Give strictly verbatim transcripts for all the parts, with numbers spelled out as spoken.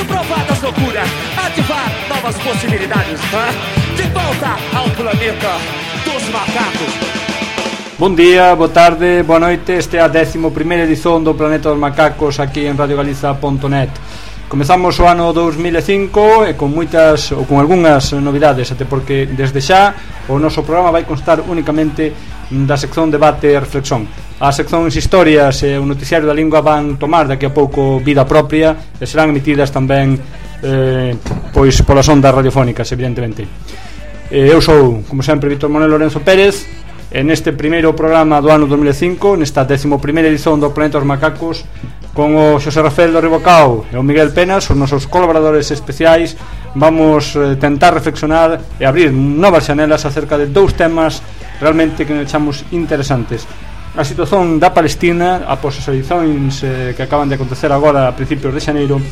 Preciso provar das loucuras, ativar novas possibilidades, hein? De volta ao planeta dos macacos. Bon día, boa tarde, boa noite. Este é a décimo primeira edición do Planeta dos Macacos aquí en radio galiza punto net. Comezamos o ano dous mil e cinco e con moitas ou con algunhas novidades, até porque desde xa o noso programa vai constar únicamente da sección debate e reflexión. As seccións historias e o noticiario da lingua van tomar daqui a pouco vida propia e serán emitidas tamén eh, pois polas ondas radiofónicas, evidentemente. eh, Eu sou, como sempre, Víctor Manuel Lorenzo Pérez. En este primeiro programa do ano dos mil e cinco, nesta décimo primeira edición do Planeta dos Macacos, con o Xosé Rafael do Ribocao e o Miguel Penas, os nosos colaboradores especiais, vamos eh, tentar reflexionar e abrir novas xanelas acerca de dous temas realmente que nos echamos interesantes: a situación da Palestina após as eleicións eh, que acaban de acontecer agora a principios de xaneiro,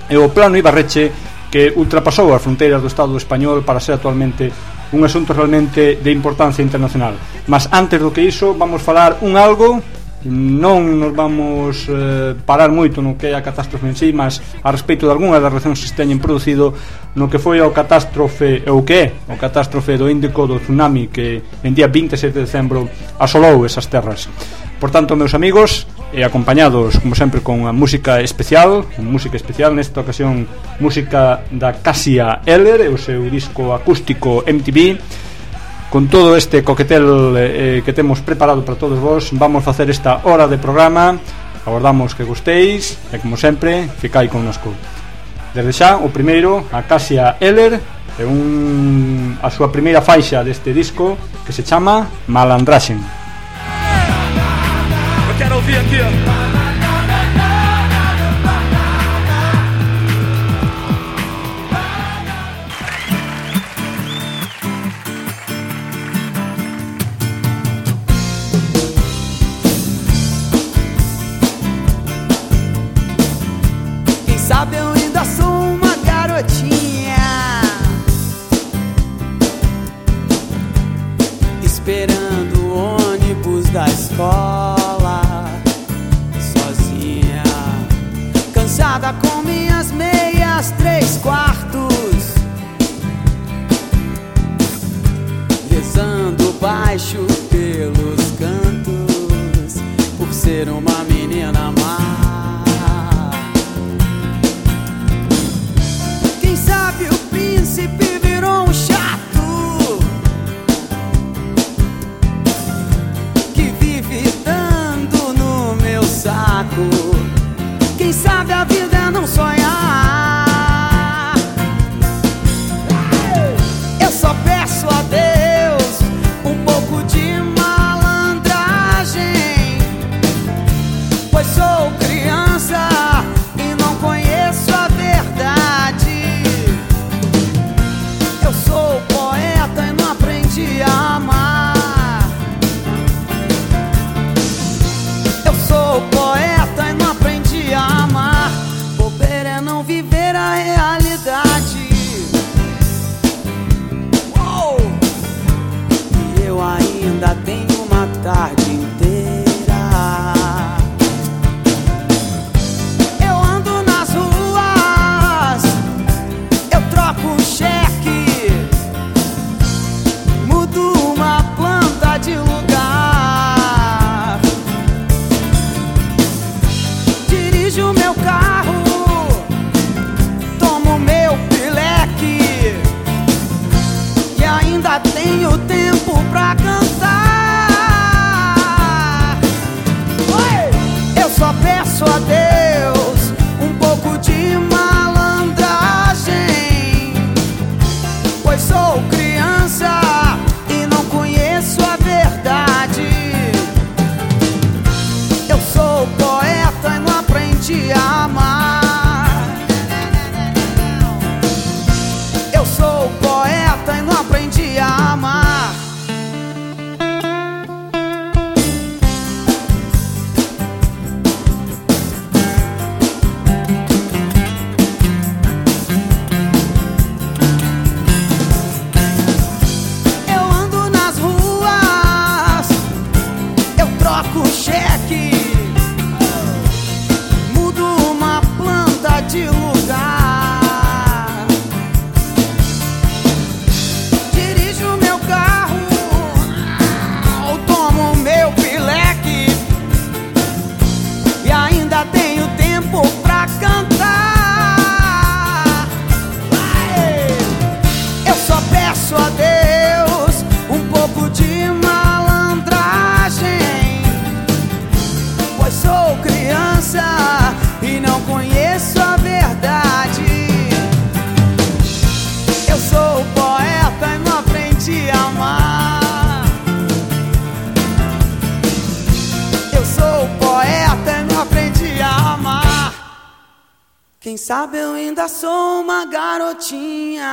e o plano Ibarreche, que ultrapasou as fronteiras do Estado español para ser actualmente un asunto realmente de importancia internacional. Mas antes do que iso, vamos falar un algo. Non nos vamos eh, parar moito no que é a catástrofe en sí, mas a respecto de algunhas das reaccións que se teñen producido no que foi o catástrofe, ou que é o catástrofe do Índico, do tsunami que en día vinte e sete de decembro asolou esas terras. Por tanto, meus amigos, e acompañados, como sempre, con a música especial, música especial, nesta ocasión, música da Cassia Eller e o seu disco acústico M T V. Con todo este coquetel eh, que temos preparado para todos vos, vamos facer esta hora de programa. Agardamos que gustéis e, como sempre, ficai connosco. Desde xa, o primeiro, a Cassia Eller, e un, a súa primeira faixa deste disco, que se chama Malandraxen. Eu quero ouvir aqui. Sabe, eu ainda sou uma garotinha esperando o ônibus da escola. Quem sabe eu ainda sou uma garotinha.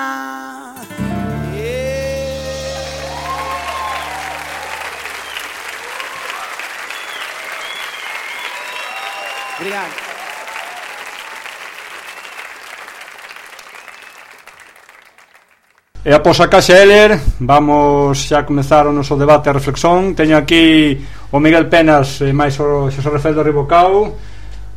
Obrigado. E após a Caixa Heller vamos xa comezar o noso debate e reflexión. Teño aquí o Miguel Penas e máis o Xosé Rafael do Ribocao.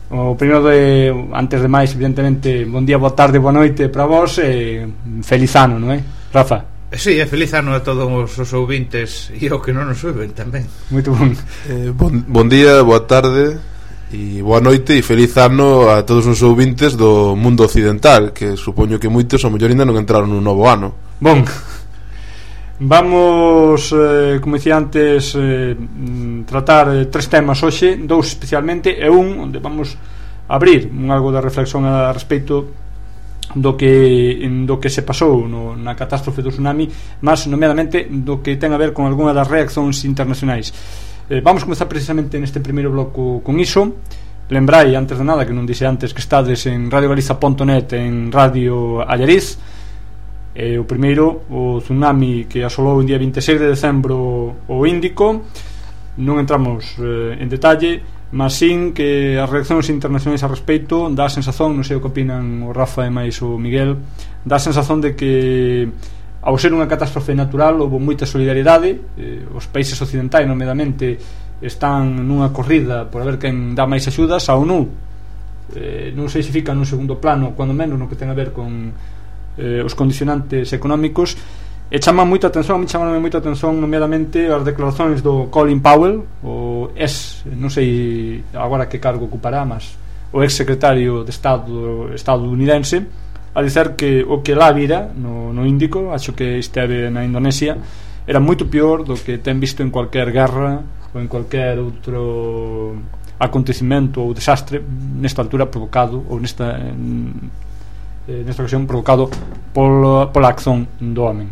O primeiro de, antes de máis, evidentemente, bon día, boa tarde, boa noite para vos e feliz ano, non é? Rafa? Sí, é feliz ano a todos os ouvintes e ao que non nos ouven tamén. Moito bon. Eh, bon, bon día, boa tarde e boa noite e feliz ano a todos os ouvintes do mundo occidental, que supoño que moitos ao mellor ainda non entraron nun novo ano. Bon, vamos, eh, como dicía antes, eh, tratar eh, tres temas hoxe, dous especialmente e un onde vamos abrir un algo de reflexión a respecto do que do que se pasou no, na catástrofe do tsunami, mas nomeadamente do que ten a ver con algunha das reaccións internacionais. Eh, vamos comezar precisamente neste primeiro bloco con iso. Lembrai, antes de nada, que non dixe antes que estades en radio galiza punto net, en Radio Allariz. Eh, o primeiro, o tsunami que asolou o día vinte e seis de decembro o Índico. Non entramos eh, en detalle, mas sin que as reaccións internacionais a respecto dá a sensación, non sei o que opinan o Rafa e máis o Miguel, dá a sensación de que ao ser unha catástrofe natural houve moita solidariedade. eh, os países occidentais nomeadamente están nunha corrida por a ver quen dá máis axudas. A ONU eh, non sei se fica nun segundo plano, cuando menos no que ten a ver con Eh, os condicionantes económicos, e chama moita atención, a mí chamaron moita atención nomeadamente as declaracións do Colin Powell, o ex, non sei agora que cargo ocupará, mas o ex secretario de Estado estadounidense, a dizer que o que lá vira no, no Índico, acho que esteve na Indonesia, era moito pior do que ten visto en cualquier guerra ou en cualquier outro acontecimento ou desastre nesta altura provocado ou nesta en, nesta ocasión provocado polo, pola acción do home.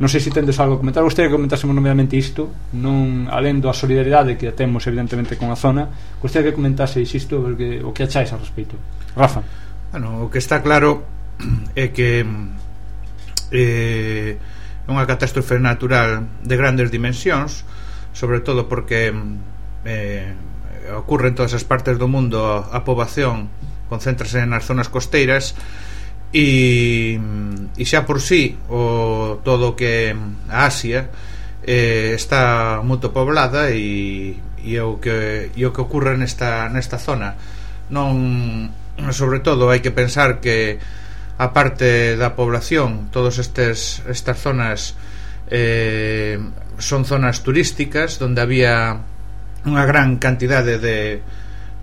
Non sei se tendes algo a comentar. Gostaria que comentásemos nomeadamente isto, non alén da solidaridade que temos evidentemente con a zona. Gostaria que comentaseis isto, porque o que acháis ao respecto. Rafa. Bueno, o que está claro é que é eh, unha catástrofe natural de grandes dimensións, sobre todo porque eh, ocurre en todas as partes do mundo. A poboación concéntrase nas zonas costeiras e, e xa por sí o todo que a Asia eh, está moito poblada e, e o que e o que ocurre nesta nesta zona. Non, sobre todo hai que pensar que a parte da población, todos estes estas zonas eh, son zonas turísticas onde había unha gran cantidade de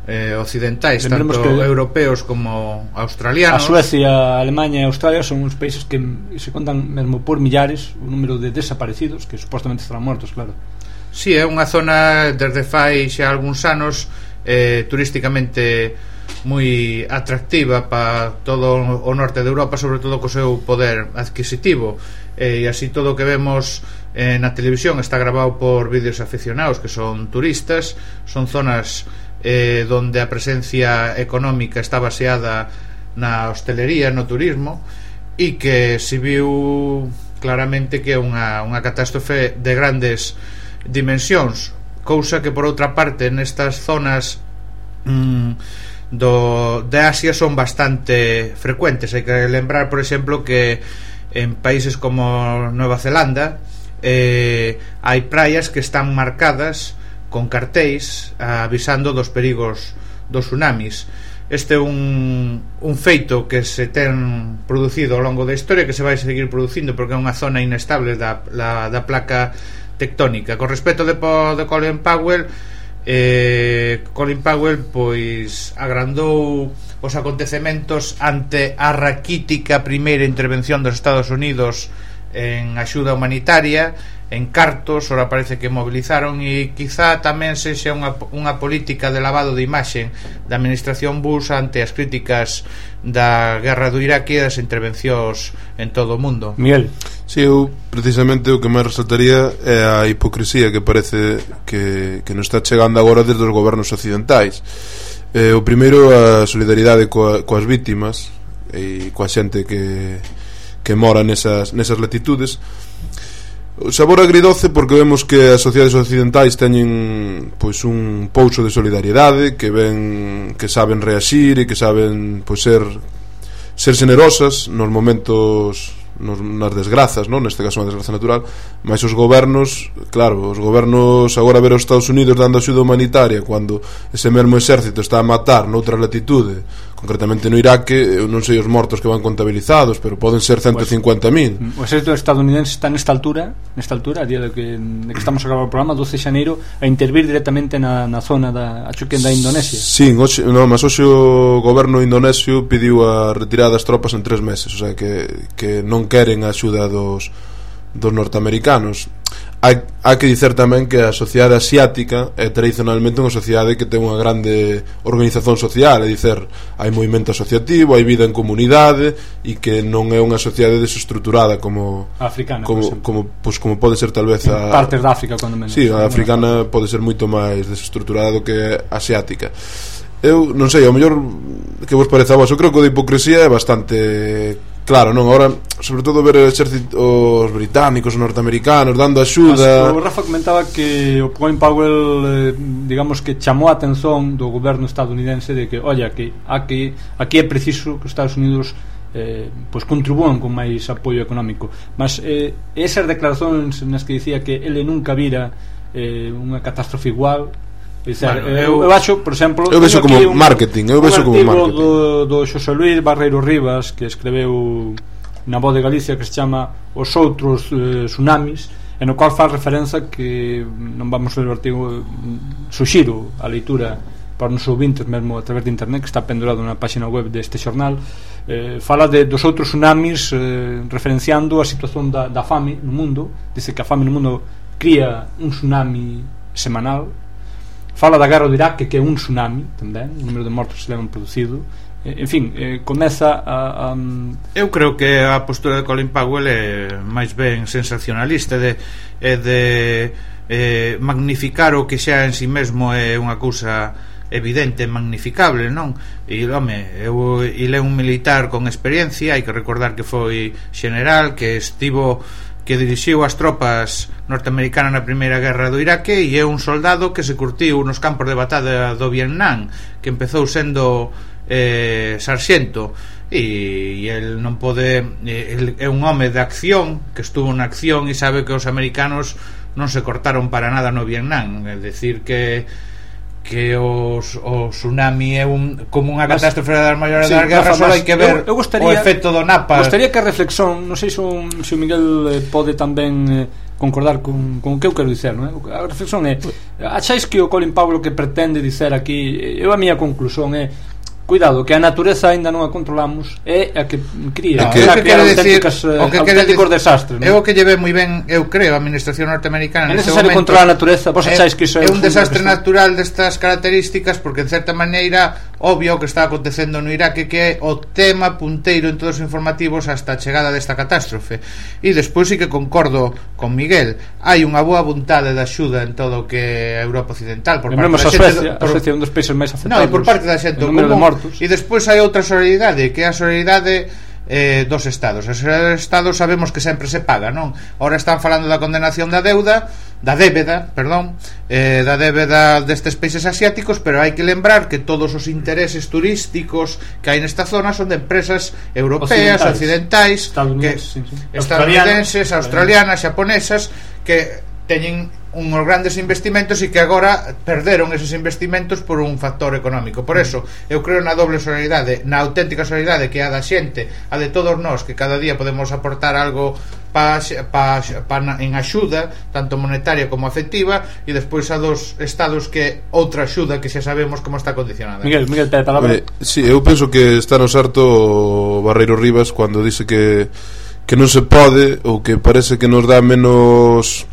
Eh, occidentais, Lembremos tanto que europeos como australianos. A Suecia, a Alemania e Australia son uns países que se contan mesmo por millares o número de desaparecidos, que supostamente estarán mortos, claro. Si, sí, é unha zona desde fai xa algúns anos eh, turísticamente moi atractiva para todo o norte de Europa, sobre todo co seu poder adquisitivo, eh, e así todo o que vemos eh, na televisión está grabado por vídeos aficionados que son turistas. Son zonas Eh, donde a presencia económica está baseada na hostelería, no turismo, e que se viu claramente que é unha, unha catástrofe de grandes dimensións, cousa que por outra parte nestas zonas mm, do, de Asia son bastante frecuentes. Hai que lembrar, por exemplo, que en países como Nueva Zelanda eh, hai praias que están marcadas con cartéis avisando dos perigos dos tsunamis. Este é un, un feito que se ten producido ao longo da historia, que se vai seguir producindo porque é unha zona inestable da, la, da placa tectónica. Con respecto de, de Colin Powell, eh, Colin Powell pois agrandou os acontecementos ante a raquítica primeira intervención dos Estados Unidos en axuda humanitaria, en cartos. Ora parece que movilizaron, e quizá tamén sexa unha, unha política de lavado de imaxe da administración Bush ante as críticas da guerra do Irak e das intervencións en todo o mundo. Miguel. Si, sí, eu precisamente o que máis resaltaría é a hipocrisía que parece que, que nos está chegando agora desde os gobernos occidentais. Eh, o primeiro, a solidaridade coa, coas vítimas e coa xente que, que mora nesas, nesas latitudes. O sabor agridoce porque vemos que as sociedades occidentais teñen pois un pouso de solidariedade, que ven que saben reaxir e que saben pois ser ser generosas nos momentos, nos, nas desgrazas, non? Neste caso unha desgraza natural, mas os gobernos, claro, os gobernos agora ver os Estados Unidos dando axuda humanitaria cando ese mesmo exército está a matar noutra latitude, concretamente no Iraque, eu non sei os mortos que van contabilizados, pero poden ser ciento cincuenta mil. O exército estadounidense está nesta altura, nesta altura, a día de que, de que estamos a gravar o programa, doce de xaneiro, a intervir directamente na, na zona da, acho que da Indonesia. Sí, oxe, no, mas hoxe o goberno indonesio pidiu a retirada das tropas en tres meses, o sea que, que non queren a axuda dos, dos norteamericanos. Hai, hai que dicer tamén que a sociedade asiática é tradicionalmente unha sociedade que ten unha grande organización social, é dicer, hai movimento asociativo, hai vida en comunidade e que non é unha sociedade desestruturada como africana, como, como, pues, como pode ser tal vez a partes da África, cando menos. Sí, a africana pode ser moito máis desestruturada do que a asiática. Eu non sei, ao mellor que vos parece a vos, eu creo que a hipocresía é bastante claro, non? Agora, sobre todo ver os británicos, os norteamericanos dando axuda. O Rafa comentaba que o Colin Powell, eh, digamos que chamou a atención do goberno estadounidense de que, olla, que aquí, aquí é preciso que os Estados Unidos eh, pois contribúan con máis apoio económico. Mas eh, esas declaracións nas que dicía que ele nunca vira eh, unha catástrofe igual. Dizer, bueno, eu, eu acho, por exemplo, eu vexo como un, marketing, eu vexo como marketing. do, do Xosé Luis Barreiro Rivas, que escreveu na Voz de Galicia, que se chama Os Outros eh, Tsunamis, en o cual faz referencia que non vamos a ler o artigo, suxiro a leitura para os nosos ouvintes mesmo a través de internet, que está pendurado na página web deste xornal. Eh, fala de, dos outros tsunamis, eh, referenciando a situación da, da fame no mundo. Dice que a fame no mundo cría un tsunami semanal. Fala da guerra do Iraque, que é un tsunami tamén, o número de mortos que se levan producido. En fin, eh, comeza a, a... Eu creo que a postura de Colin Powell é máis ben sensacionalista, de, é de eh, magnificar o que xa en si mesmo é unha cousa evidente, magnificable, non? E, home, eu, ele é un militar con experiencia, hai que recordar que foi general, que estivo... que dirixiu as tropas norteamericanas na primeira guerra do Iraque, e é un soldado que se curtiu nos campos de batalla do Vietnam, que empezou sendo eh, sarxento, e, e el non pode, el é un home de acción, que estuvo na acción e sabe que os americanos non se cortaron para nada no Vietnam, é dicir que que os, o tsunami é un, como unha catástrofe das maiores sí, das guerras, só hai que ver eu, eu gostaría, o efecto do Napa. Gostaría que a reflexión, non sei se o, se o Miguel eh, pode tamén eh, concordar con, con o que eu quero dicer, non é? A reflexión é, acháis que o Colin Powell que pretende dicer aquí, eu a miña conclusión é, cuidado, que a natureza aínda non a controlamos, é a que cría, no, que, a que crear auténticas, decir, o que auténticos desastres, é o que lleve moi ben, eu creo, a administración norteamericana é necesario momento, controlar a natureza. Vos acháis que iso é un desastre natural destas características, porque en certa maneira obvio o que está acontecendo no Iraque, que é o tema punteiro en todos os informativos hasta a chegada desta catástrofe. E despois sí que concordo con Miguel, hai unha boa vontade de axuda en todo o que é Europa Occidental, por parte da xente, a Suecia é un dos países máis afectados, no, e por parte da xente común. E despois hai outra solidariedade, que é a solidariedade eh, dos estados. Os estados sabemos que sempre se paga, non? Ahora están falando da condenación da deuda, da débeda, perdón, eh, da débeda destes países asiáticos, pero hai que lembrar que todos os intereses turísticos que hai nesta zona son de empresas europeas, occidentais, occidentais que, sí, sí. estadounidenses, australianas, xaponesas, que teñen unhos grandes investimentos e que agora perderon esos investimentos por un factor económico. Por eso, eu creo na doble solidaridade, na auténtica solidaridade que é a da xente, a de todos nós, que cada día podemos aportar algo pa, pa, pa, en axuda, tanto monetaria como afectiva, e despois a dos estados que outra axuda que xa sabemos como está condicionada. Miguel, Miguel, te palabra. Eh, sí, eu penso que está no sarto o Barreiro Rivas cando dice que que non se pode, ou que parece que nos dá menos,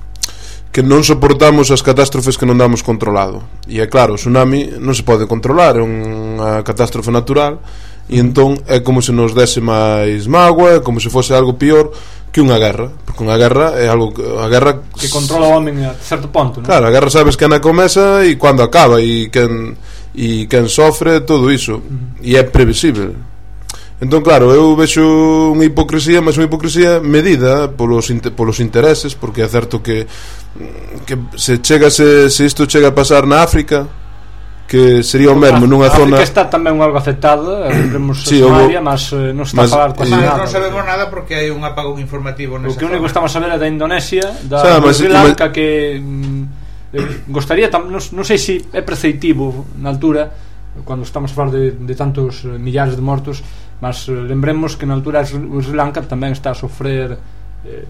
que non soportamos as catástrofes que non damos controlado. E é claro, o tsunami non se pode controlar, é unha catástrofe natural, e entón é como se nos dese máis mágoa, é como se fose algo pior que unha guerra, porque unha guerra é algo que a guerra que controla o home a certo ponto, non? Claro, a guerra sabes que na comeza e cando acaba, e quen e quen sofre todo iso, e é previsible. Entón, claro, eu vexo unha hipocresía, mas unha hipocresía medida polos, polos intereses, porque é certo que que se chega se, se isto chega a pasar na África, que sería o mesmo nunha a zona... África está tamén algo afectada, lembremos sí, Somalia, mas eh, non está mas, a falar con Mas nada. non sabemos nada porque hai un apagón informativo nesa O que único que zona. estamos a ver é da Indonesia, da O sea, mas- Sri Lanka, que mm, eh, gostaría tam, non, non sei se é preceptivo na altura, cando estamos a falar de, de tantos eh, millares de mortos, mas eh, lembremos que na altura o Sri Lanka tamén está a sofrer eh,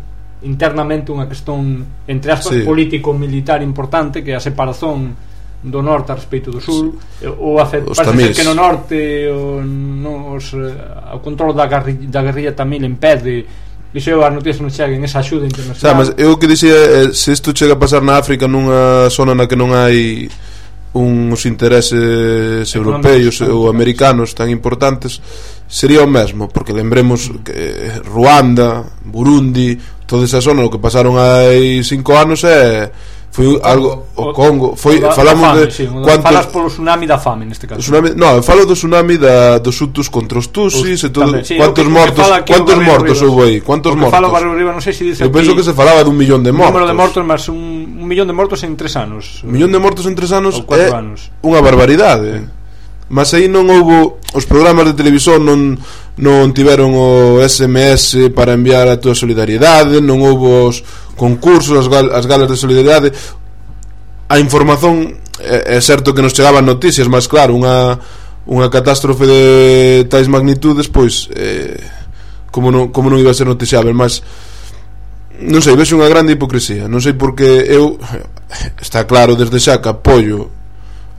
internamente unha cuestión entre aspas sí. político-militar importante, que é a separación do norte a respecto do sur, sí. ou a fe, Os parece tamís. que no norte o, no, os, eh, o control da, garri, da guerrilla tamil impede. Iso as noticias non cheguen, esa axuda internacional. O sea, mas eu que dicía é, se isto chega a pasar na África nunha zona na que non hai uns intereses europeos ou americanos tan importantes, sería o mesmo, porque lembremos que Ruanda, Burundi, toda esa zona, o que pasaron hai cinco anos é foi o algo o Congo, foi da, falamos da fame, de sí, cuántos falas polo tsunami da fame neste caso. Tsunami, no, eu falo do tsunami da, dos hutus contra os tusis e todo, tamén, sí, cuántos que, mortos, que cuántos mortos houve aí, cuántos mortos. Falo Barrio Riba, non sei se dice eu aquí, penso que se falaba dun millón de mortos. Un número de mortos, mas un, un millón de mortos en tres anos. Un millón de mortos en tres anos é anos. unha barbaridade. Mas aí non houbo, os programas de televisión non non tiveron o S M S para enviar a túa solidariedade, non houbo os concursos, as, gal, as galas de solidariedade. A información é, é certo que nos chegaban noticias, mas claro, unha unha catástrofe de tais magnitudes, pois eh, como non como non iba a ser noticiável, mas non sei, vexo unha grande hipocresía. Non sei porque eu está claro desde xa que apoio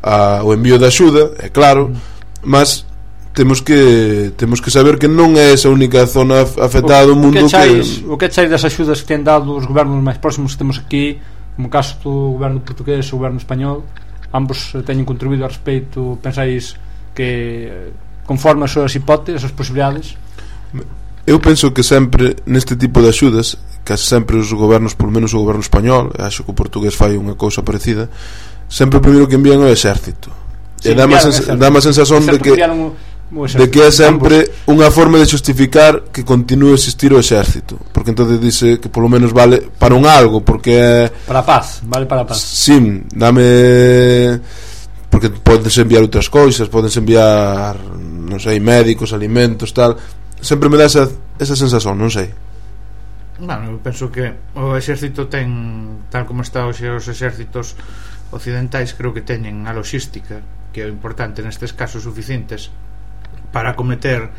a, o envío de axuda, é claro, mas temos que temos que saber que non é esa única zona afectada do mundo. O que chais, que... o que chais das axudas que ten dado os gobernos máis próximos que temos aquí, como caso do goberno portugués e o goberno español, ambos teñen contribuído a respeito, pensáis que conforme as súas hipóteses, as posibilidades? Eu penso que sempre neste tipo de axudas, case sempre os gobernos, por menos o goberno español, acho que o portugués fai unha cousa parecida, sempre o primeiro que envían é o exército. Sí, e dá má sensación de que de que é sempre unha forma de justificar que continúe a existir o exército, porque entonces dice que polo menos vale para un algo, porque é para a paz, vale para a paz. Sim, dame, porque podes enviar outras cousas, podes enviar, non sei, médicos, alimentos, tal. Sempre me dá esa, esa sensación, non sei. Bueno, eu penso que o exército ten, tal como está hoxe os exércitos occidentais, creo que teñen a logística, que é importante nestes casos suficientes para acometer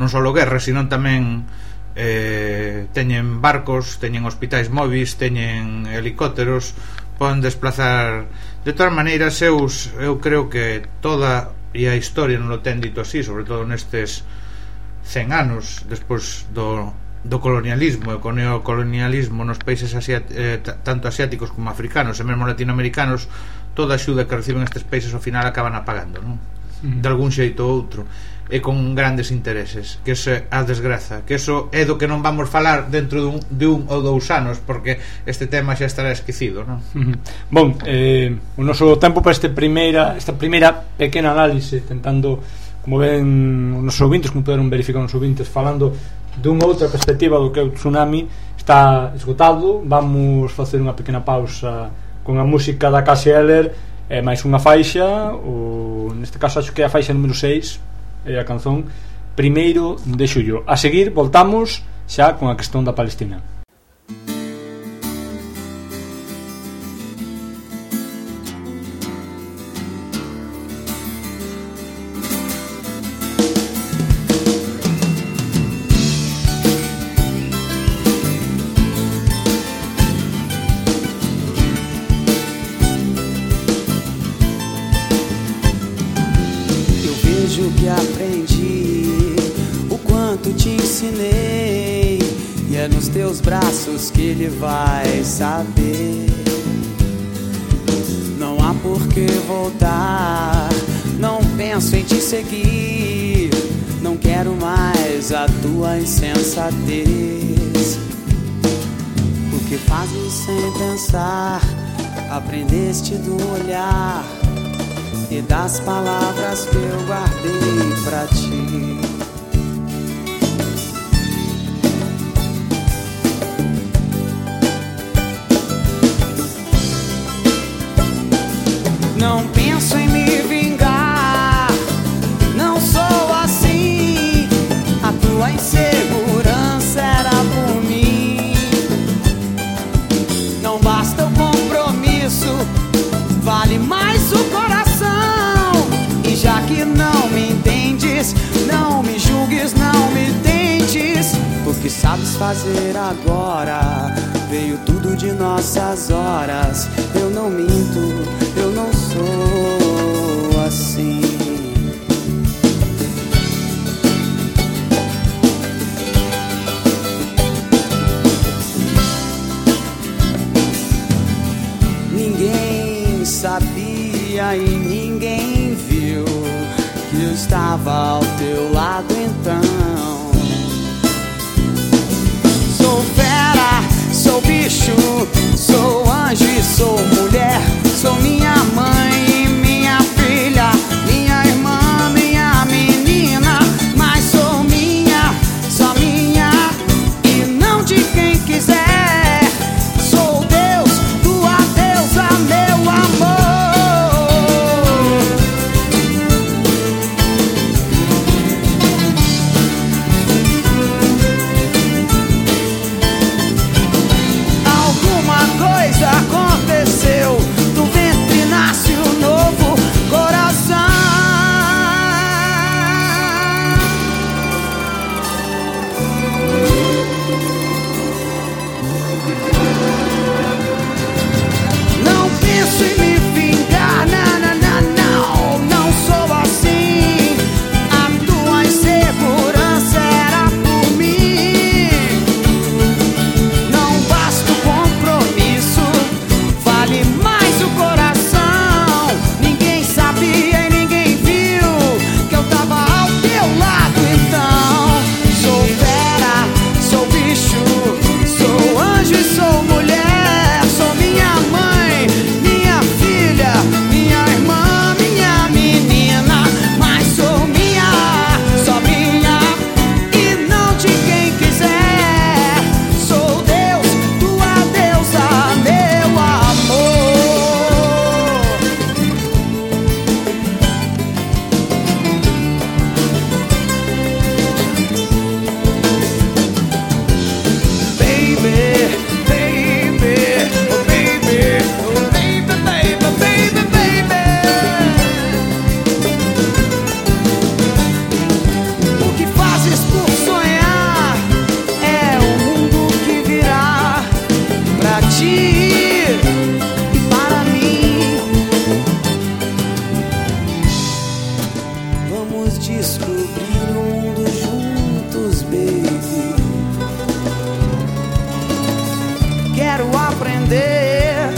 non só guerras, sino tamén eh, teñen barcos, teñen hospitais móviles, teñen helicópteros, poden desplazar. De todas maneiras, eu, eu creo que toda e a historia non lo ten dito así, sobre todo nestes cen anos despois do, do colonialismo e co neocolonialismo nos países asiat, eh, tanto asiáticos como africanos e mesmo latinoamericanos, toda a axuda que reciben estes países ao final acaban apagando, non? De algún xeito ou outro, e con grandes intereses, que eso é a desgraza, que eso é do que non vamos falar dentro dun, de un ou dous anos, porque este tema xa estará esquecido, non? Uh-huh. Bon, eh, o noso tempo para este primeira, esta primeira pequena análise, tentando, como ven os nosos ouvintes, como poderon verificar os nosos ouvintes, falando dunha outra perspectiva do que é o tsunami, está esgotado. Vamos facer unha pequena pausa con a música da Cassie Eller e máis unha faixa, ou neste caso acho que é a faixa número seis, é a canción Primeiro de Xullo. A seguir voltamos xa con a cuestión da Palestina. Que aprendi, o quanto te ensinei, e é nos teus braços que ele vai saber. Não há por que voltar, não penso em te seguir, não quero mais a tua insensatez. O que fazes sem pensar, aprendeste do olhar, e das palavras que eu guardei pra ti. Não penso em me vingar, não sou assim. A tua insegurança era por mim. Não basta o compromisso, vale mais o coração. E já que não me entendes, não me julgues, não me tentes. O que sabes fazer agora veio tudo de nossas horas. Eu não minto, eu não sou assim. Ninguém sabia e ninguém viu que eu estava ao teu lado então. Sou fera, sou bicho, sou anjo e sou mulher. Sou minha mãe e minha filha, minha irmã, minha menina. Mas sou minha, só minha e não de quem quiser. Sou Deus, tua deusa, meu amor. Alguma coisa aconteceu, do ventre nasce um novo coração. Não penso em me vingar, não, não, não, não, não sou assim. A tua insegurança era por mim. Não basta o compromisso, vale mais o coração. Ninguém sabia e ninguém viu que eu tava ao teu lado então. Sou fera, sou bicho, sou anjo e sou mulher. Sou minha mãe, minha filha, minha irmã, minha menina. Mas sou minha, só minha e não de quem quiser. Sou Deus, tua deusa, meu amor. Baby, baby, oh baby, oh baby, baby, baby, baby. O que fazes por sonhar é o mundo que virá pra ti e para mim. Vamos descobrir o mundo juntos, baby. Quero aprender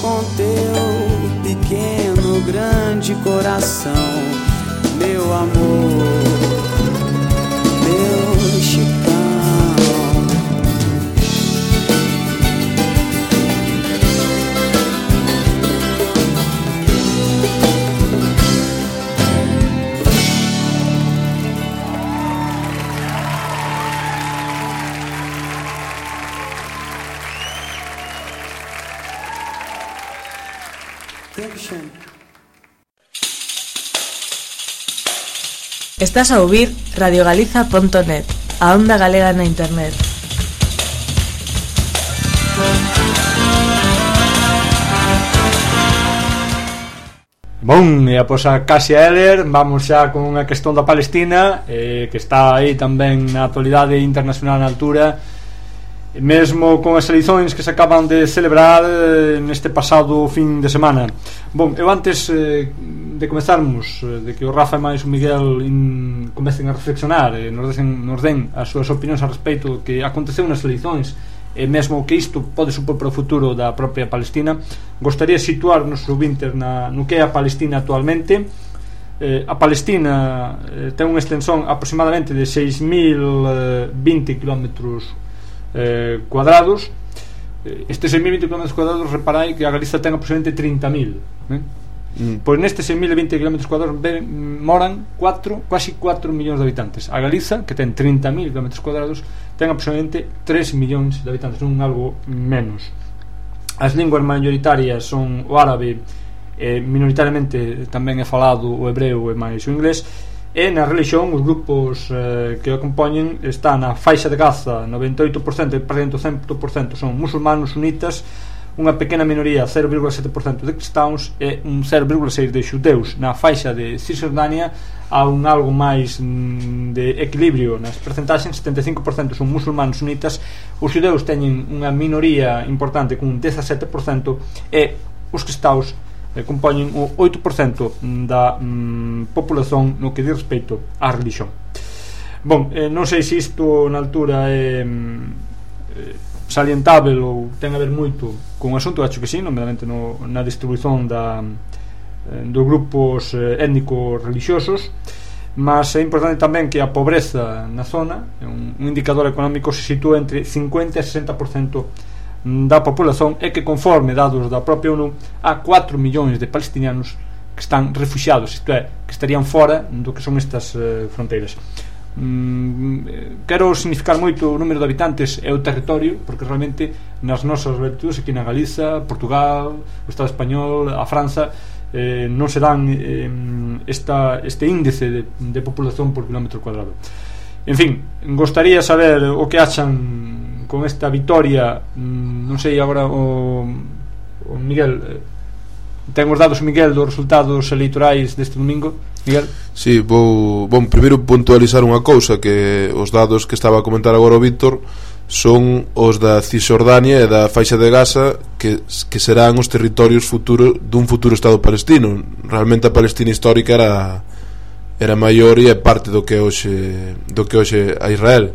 com teu pequeno, grande coração, meu amor, meu chicão. Estás a ouvir radio galiza punto net, a onda galega na internet. Bon, e após a Kasia Eller vamos xa con unha cuestión da Palestina, eh, que está aí tamén na actualidade internacional na altura, mesmo con as eleições que se acaban de celebrar eh, neste pasado fin de semana. Bon, eu antes eh, de comezarmos, eh, de que o Rafa e máis o Miguel in, comecen a reflexionar e eh, nos, den, nos den as súas opinións a respecto do que aconteceu nas eleições e mesmo que isto pode supor para o futuro da propia Palestina, gostaría situar nos ouvintes na, no que é a Palestina actualmente. eh, a Palestina eh, ten unha extensón aproximadamente de seis mil vinte kilómetros eh, cuadrados. Estes seis mil vinte kilómetros cuadrados, reparai que a Galiza ten aproximadamente trinta mil, eh? Mm. Pois nestes seis mil vinte kilómetros cuadrados moran cuatro, quasi cuatro millóns de habitantes. A Galiza, que ten trinta mil kilómetros cuadrados, ten aproximadamente tres millóns de habitantes, non algo menos. As linguas maioritarias son o árabe, eh, minoritariamente tamén é falado o hebreo e máis o inglés. E na religión os grupos eh, que o compoñen están na faixa de Gaza, noventa e oito por cento e presente o cen por cento son musulmanos sunitas, unha pequena minoría, cero vírgula sete por cento de cristãos e un cero vírgula seis por cento de xudeus. Na faixa de Cisjordania há un algo máis mm, de equilibrio nas percentaxes, setenta e cinco por cento son musulmanos sunitas, os xudeus teñen unha minoría importante con un dezasete por cento e os cristãos eh, compoñen o oito por cento da mm, populación no que di respecto á religión. Bon, eh, non sei se isto na altura é eh, salientável ou ten a ver moito con o asunto, acho que sí, nomeadamente no, na distribución da, eh, dos grupos eh, étnicos religiosos, mas é importante tamén que a pobreza na zona, un, un indicador económico, se sitúa entre cincuenta e sesenta por cento da populación e que, conforme dados da propia ONU, há cuatro millóns de palestinianos que están refugiados, isto é, que estarían fora do que son estas eh, fronteiras. Mm, quero significar moito o número de habitantes e o territorio, porque realmente nas nosas latitudes, aquí na Galiza, Portugal, o Estado español, a Franza, eh, non se dan eh, esta, este índice de, de populación por kilómetro cuadrado. En fin, gostaría saber o que achan con esta vitoria. Non sei agora o, o Miguel, ten os dados, Miguel, dos resultados eleitorais deste domingo. Miguel? Sí, vou, vou primeiro puntualizar unha cousa, que os dados que estaba a comentar agora o Víctor son os da Cisjordania e da faixa de Gaza, que, que serán os territorios futuros dun futuro Estado palestino. Realmente a Palestina histórica era era maior e é parte do que hoxe do que hoxe a Israel.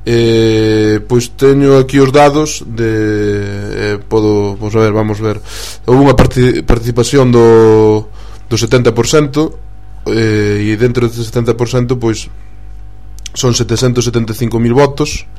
Eh, pois teño aquí os dados de eh, podo, vamos a ver, vamos a ver. Houve unha parti- participación do do setenta por cento, eh, e dentro deste setenta por cento pois son setecentos setenta e cinco mil votos,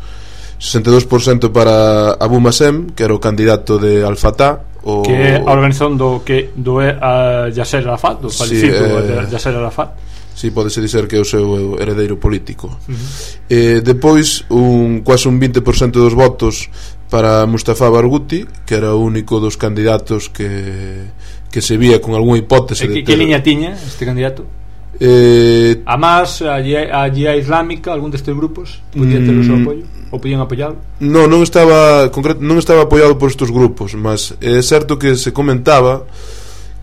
sesenta e dous por cento para Abu Masem, que era o candidato de Al-Fatah, o... que é a organización do que do é a Yasser Arafat, do falecido sí, eh... Yasser Arafat. Si, sí, podese dizer que é o seu heredeiro político. Uh-huh. eh, Depois, un, quase un vinte por cento dos votos para Mustafa Barghouti, que era o único dos candidatos que, que se vía con algunha hipótese. E que, que liña tiña este candidato? Eh, a más, a Jihad Islámica, algún destes grupos podía ter o seu apoio? Ou podían apoialo? Non, non estaba, concreto, non estaba apoiado por estes grupos, mas é certo que se comentaba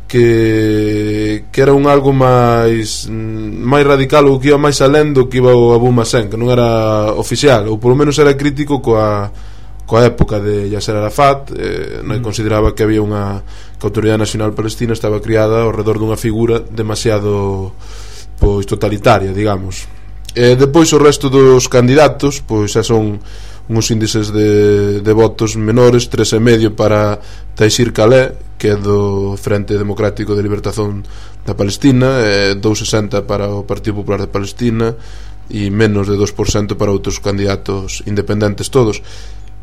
que que era un algo máis máis radical, ou que iba máis alén do que iba o Abu Masem, que non era oficial, ou polo menos era crítico coa coa época de Yasser Arafat. eh, non consideraba que había unha que a Autoridade Nacional Palestina estaba criada ao redor dunha figura demasiado pois totalitaria, digamos. E depois o resto dos candidatos pois xa son uns índices de, de votos menores, tres e medio para Taisir Khaleh, que é do Frente Democrático de Libertación da Palestina, e dous vírgula sesenta para o Partido Popular de Palestina e menos de dos por cento para outros candidatos independentes todos.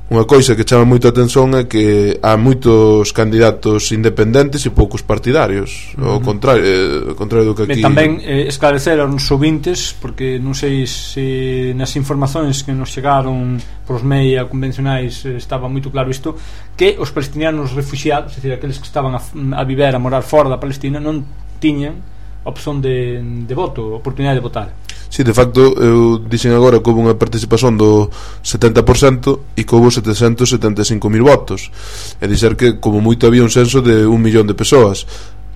Unha coisa que chama moito a atención é que há moitos candidatos independentes e poucos partidarios. Uh-huh. Ao contrario, eh, ao contrario do que aquí. Ben, tamén eh, esclarecer aos ouvintes, porque non sei se nas informacións que nos chegaron pros media convencionais eh, estaba moito claro isto, que os palestinianos refugiados, é dicir, aqueles que estaban a, a viver, a morar fora da Palestina, non tiñan opción de, de voto, oportunidade de votar. Si, sí, de facto, eu dixen agora que houve unha participación do setenta por cento e que houve setecentos setenta e cinco mil votos. É dizer que, como moito, había un censo de un millón de persoas.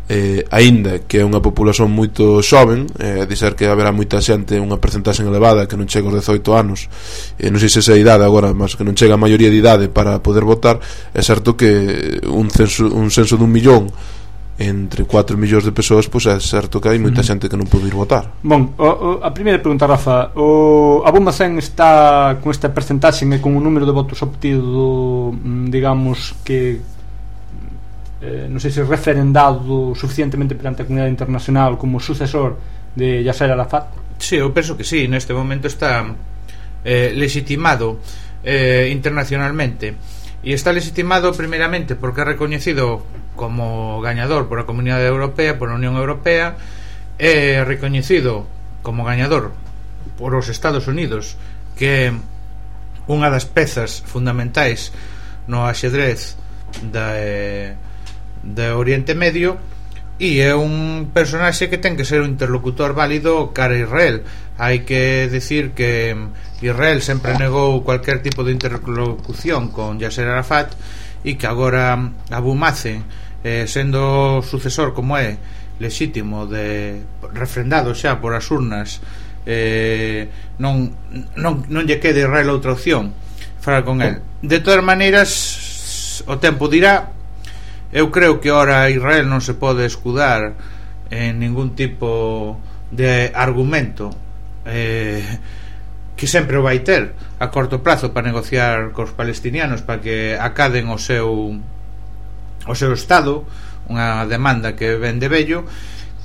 Eh, aínda que é unha populación moito xoven, é dizer que haberá moita xente, unha percentaxe elevada que non chega aos dezoito anos, e non sei se esa idade agora, mas que non chega a maioría de idade para poder votar. É certo que un censo, un censo dun millón entre cuatro millóns de persoas, pois é certo que hai moita xente que non pode ir votar. Bon, o, o, a primeira pregunta, Rafa, o Abu Masem está con esta percentaxe e con o número de votos obtido, digamos que eh, non sei se referendado suficientemente perante a comunidade internacional como sucesor de Yasser Arafat? Sí, eu penso que sí, neste momento está eh, legitimado eh, internacionalmente, e está legitimado primeiramente porque é recoñecido como gañador por a Comunidade Europea, por a Unión Europea, é recoñecido como gañador por os Estados Unidos, que é unha das pezas fundamentais no axedrez da, eh, da Oriente Medio, e é un personaxe que ten que ser un interlocutor válido cara a Israel. Hai que decir que Israel sempre negou cualquier tipo de interlocución con Yasser Arafat, e que agora Abu Mazen, eh, sendo sucesor como é lexítimo, de refrendado xa por as urnas, eh, non, non, non lle quede a Israel outra opción falar con el. De todas maneiras, o tempo dirá. Eu creo que ora Israel non se pode escudar en ningún tipo de argumento eh, que sempre o vai ter a corto plazo para negociar cos palestinianos para que acaden o seu o seu estado, unha demanda que ven de vello,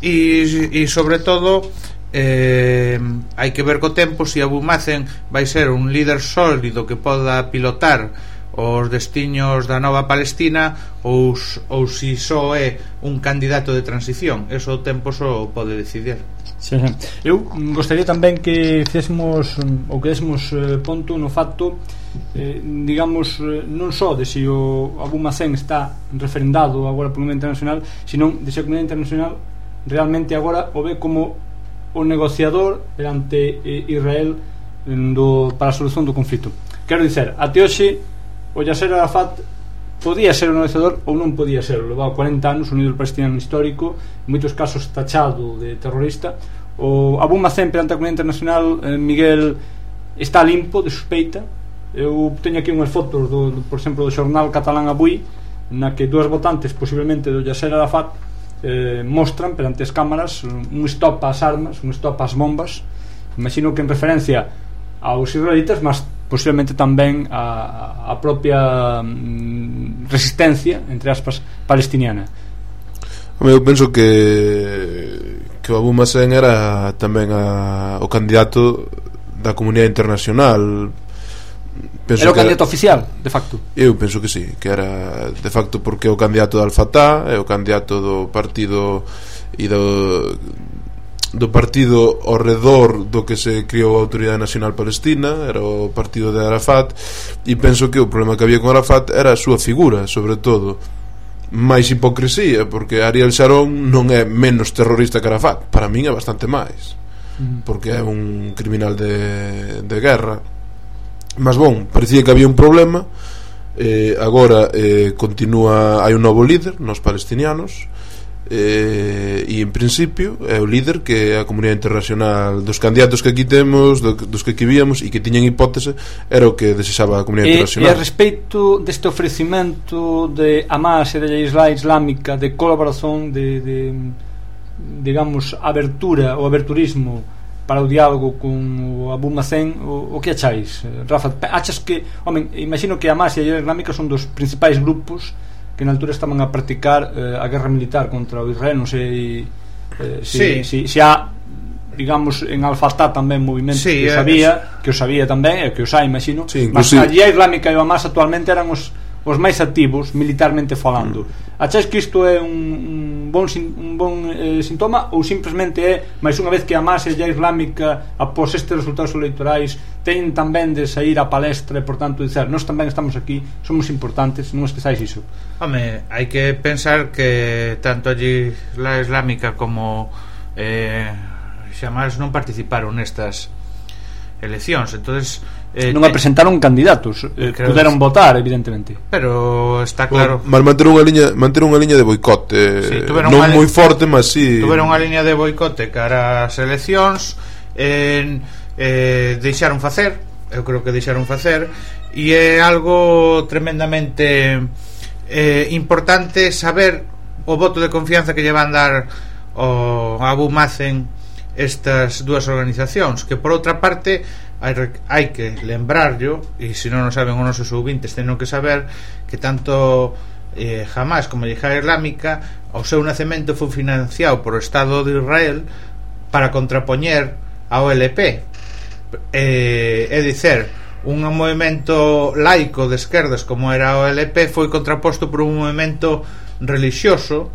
e, e sobre todo eh, hai que ver co tempo se Abu Mazen vai ser un líder sólido que poda pilotar os destiños da nova Palestina ou, ou si só é un candidato de transición. Eso o tempo só pode decidir. Sí, sí. Eu gostaría tamén que fixésemos ou que désemos eh, ponto no facto, eh, digamos, eh, non só de se o Abu Mazen está referendado agora por Comunidade Internacional, senón de se a Comunidade Internacional realmente agora o ve como o negociador perante eh, Israel do, para a solución do conflito. Quero dizer, até hoxe o Yasser Arafat podía ser o negociador ou non podía ser. Levaba cuarenta anos unido ao palestiniano histórico, en moitos casos tachado de terrorista. O Abu Mazen perante a Comunidade Internacional, eh, Miguel, está limpo de suspeita. Eu teño aquí unhas fotos do, do, por exemplo, do xornal catalán Avui, na que dúas votantes posiblemente do Yasser Arafat eh, mostran perante as cámaras un stop ás armas, un stop ás bombas. Imagino que en referencia aos israelitas, mas posiblemente tamén a, a propia mm, resistencia, entre aspas, palestiniana. Eu penso que que o Abu Mazen era tamén a, o candidato da comunidade internacional. Penso era o que candidato era, oficial, de facto. Eu penso que sí, que era de facto, porque é o candidato do Al-Fatah, é o candidato do partido e do do partido ao redor do que se criou a Autoridade Nacional Palestina, era o partido de Arafat, e penso que o problema que había con Arafat era a súa figura, sobre todo, máis hipocresía, porque Ariel Sharon non é menos terrorista que Arafat, para min é bastante máis, porque é un criminal de, de guerra. Mas bon, parecía que había un problema, eh, agora eh, continúa, hai un novo líder nos palestinianos, eh, e en principio é o líder que a comunidade internacional, dos candidatos que aquí temos, do, dos que aquí víamos e que tiñan hipótese, era o que desexaba a comunidade e, internacional. E a respeito deste ofrecimento de Hamas e da Isla Islámica de colaboración, de, de digamos, abertura ou aberturismo para o diálogo con o Abu Mazen, o, o que acháis, Rafa? Achas que, home, imagino que Hamas e a Isla Islámica son dos principais grupos que na altura estaban a practicar eh, a guerra militar contra o Israel. Non sei eh, si, sí. si, si há, digamos, en Al-Fatah tamén movimentos sí, que o sabía, es... que o sabía tamén, e que os hai, imagino, sí, mas a Jihad Islámica e o Hamas actualmente eran os, os máis activos militarmente falando. Mm. Achais que isto é un, un bon, un bon eh, sintoma, ou simplesmente é, máis unha vez que a Hamas e a Jihad Islámica após estes resultados electorais teñen tamén de sair a palestra e, por tanto, dizer, nós tamén estamos aquí, somos importantes, non esquezáis iso? Home, hai que pensar que tanto a Jihad Islámica como eh, xamás non participaron nestas eleccións, entonces eh, non a presentaron candidatos, eh, puderon votar, evidentemente, pero está claro. Mas manter unha liña, manter unha liña de boicote, sí, non moi forte, mas si sí. Tuveron unha liña de boicote cara ás eleccións, en, eh, deixaron facer, eu creo que deixaron facer, e é algo tremendamente eh, importante saber o voto de confianza que lle van dar o Abu Mazen estas dúas organizacións, que por outra parte hai, hai que lembrarlo, e se non o saben os nosos ouvintes teñen que saber que tanto eh, Hamas como a Jihad Islámica, o seu nacemento foi financiado por o Estado de Israel para contrapoñer a O L P, eh, é dicer, un movimento laico de esquerdas como era o O L P foi contraposto por un movimento relixioso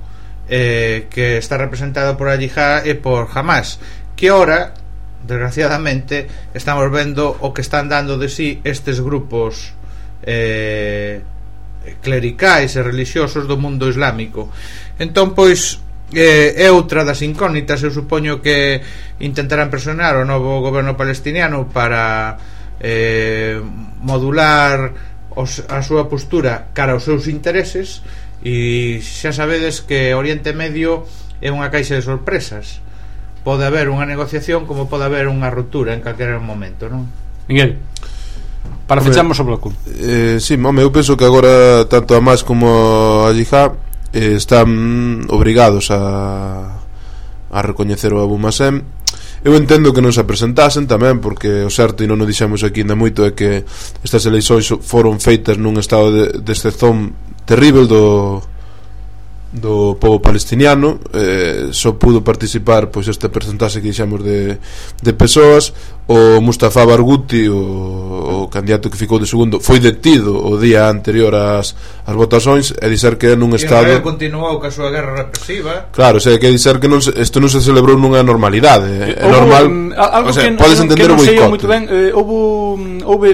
eh, que está representado por Al-Jihad e por Hamas, que ora, desgraciadamente, estamos vendo o que están dando de sí estes grupos eh, clericais e relixiosos do mundo islámico. Entón, pois, eh, é outra das incógnitas. Eu supoño que intentarán presionar o novo goberno palestiniano para eh, modular os, a súa postura cara aos seus intereses. E xa sabedes que Oriente Medio é unha caixa de sorpresas. Pode haber unha negociación como pode haber unha ruptura en calquera momento, non? Miguel, para fechamos o bloco. Eh, sí, home, eu penso que agora tanto a Hamas como a Jihad eh, están obrigados a a recoñecer o Abu Masem. Eu entendo que non se presentasen tamén, porque o certo, e non o dixemos aquí ainda moito, é que estas eleições foron feitas nun estado de, de excepción terrible do do povo palestiniano. Eh, só pudo participar pois este percentaxe que dixemos de, de persoas. O Mustafa Barghouti, o, o candidato que ficou de segundo, foi detido o día anterior ás, ás votações, e dizer que nun estado... E Israel continuou ca súa guerra represiva. Claro, o sea, que dizer que non se, isto non se celebrou nunha normalidade. É normal, um, algo o sea, que, podes entender o boicote. Que non sei boicote. moito ben, eh, houve, houve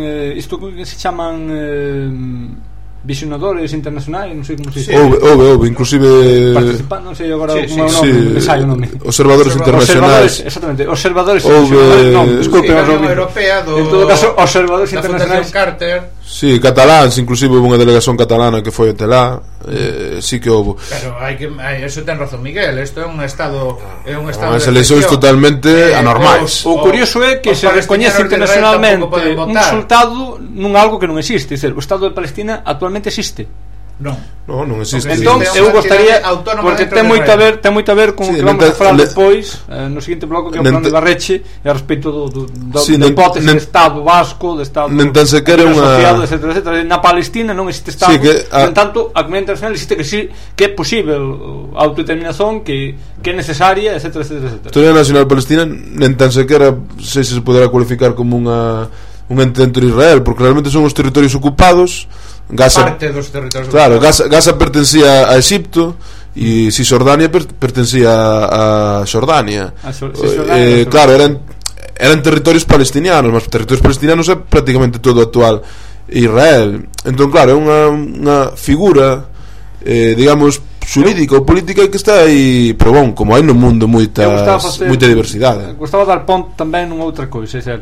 eh, isto que se chaman... Eh, visionadores internacionais, non sei como se dice. Houve, houve, houve, inclusive participan, non sei agora sí, como é o sí, nome, sí, sai o nome. Observadores internacionais. Observadores, exactamente, observadores Houve, internacionais. Non, desculpe, sí, a Unión Europea do, en todo caso, observadores da internacionais. Fundación Carter. Sí, cataláns, inclusive houve unha delegación catalana que foi até lá. Eh, sí que houve. Pero hai que hai, eso ten razón Miguel, isto é un estado é un estado As de eleccións excepción. totalmente Eh, anormais. O curioso é que os se recoñece palestinianos de Israel internacionalmente tampouco poden un votar. resultado nun algo que non existe, é dizer, o Estado de Palestina actualmente existe. Non. No, non existe. Entón, existe eu unha gostaría, entidade autónoma porque dentro ten de moito a Israel. ver, ten moito a ver con o Sí, que vamos nenta- a falar le- despois, eh, no seguinte bloco, que é o nenta- plano de Barreche, e a respecto do, do, do, Sí, da nen- hipótese nen- de Estado vasco, de Estado nen tan sequera libre unha- asociado, etcétera, etcétera. Na Palestina non existe Estado, Sí, que a- en tanto, a comunidade internacional existe que sí, que é posible a autodeterminación, que, que é necesaria, etcétera, etcétera, etcétera. A Historia Nacional Palestina nen tan sequera sei se se poderá cualificar como unha un ente dentro de Israel, porque realmente son os territorios ocupados. Gaza, Parte dos territorios. claro, Gaza, Gaza pertencía a Egipto e Cisjordania per, pertencía a Xordania. A Xor- Eh, Cisjordania, eh, Xordania. claro, eran eran territorios palestinianos, mas territorios palestinianos é prácticamente todo o actual Israel. Entón, claro, é unha, unha figura eh, digamos xurídica ou política que está aí, pero bon, como hai no mundo Eu gostaba moitas, facer- moita diversidade. Gostaba dar ponto tamén nunha outra coisa, é dizer,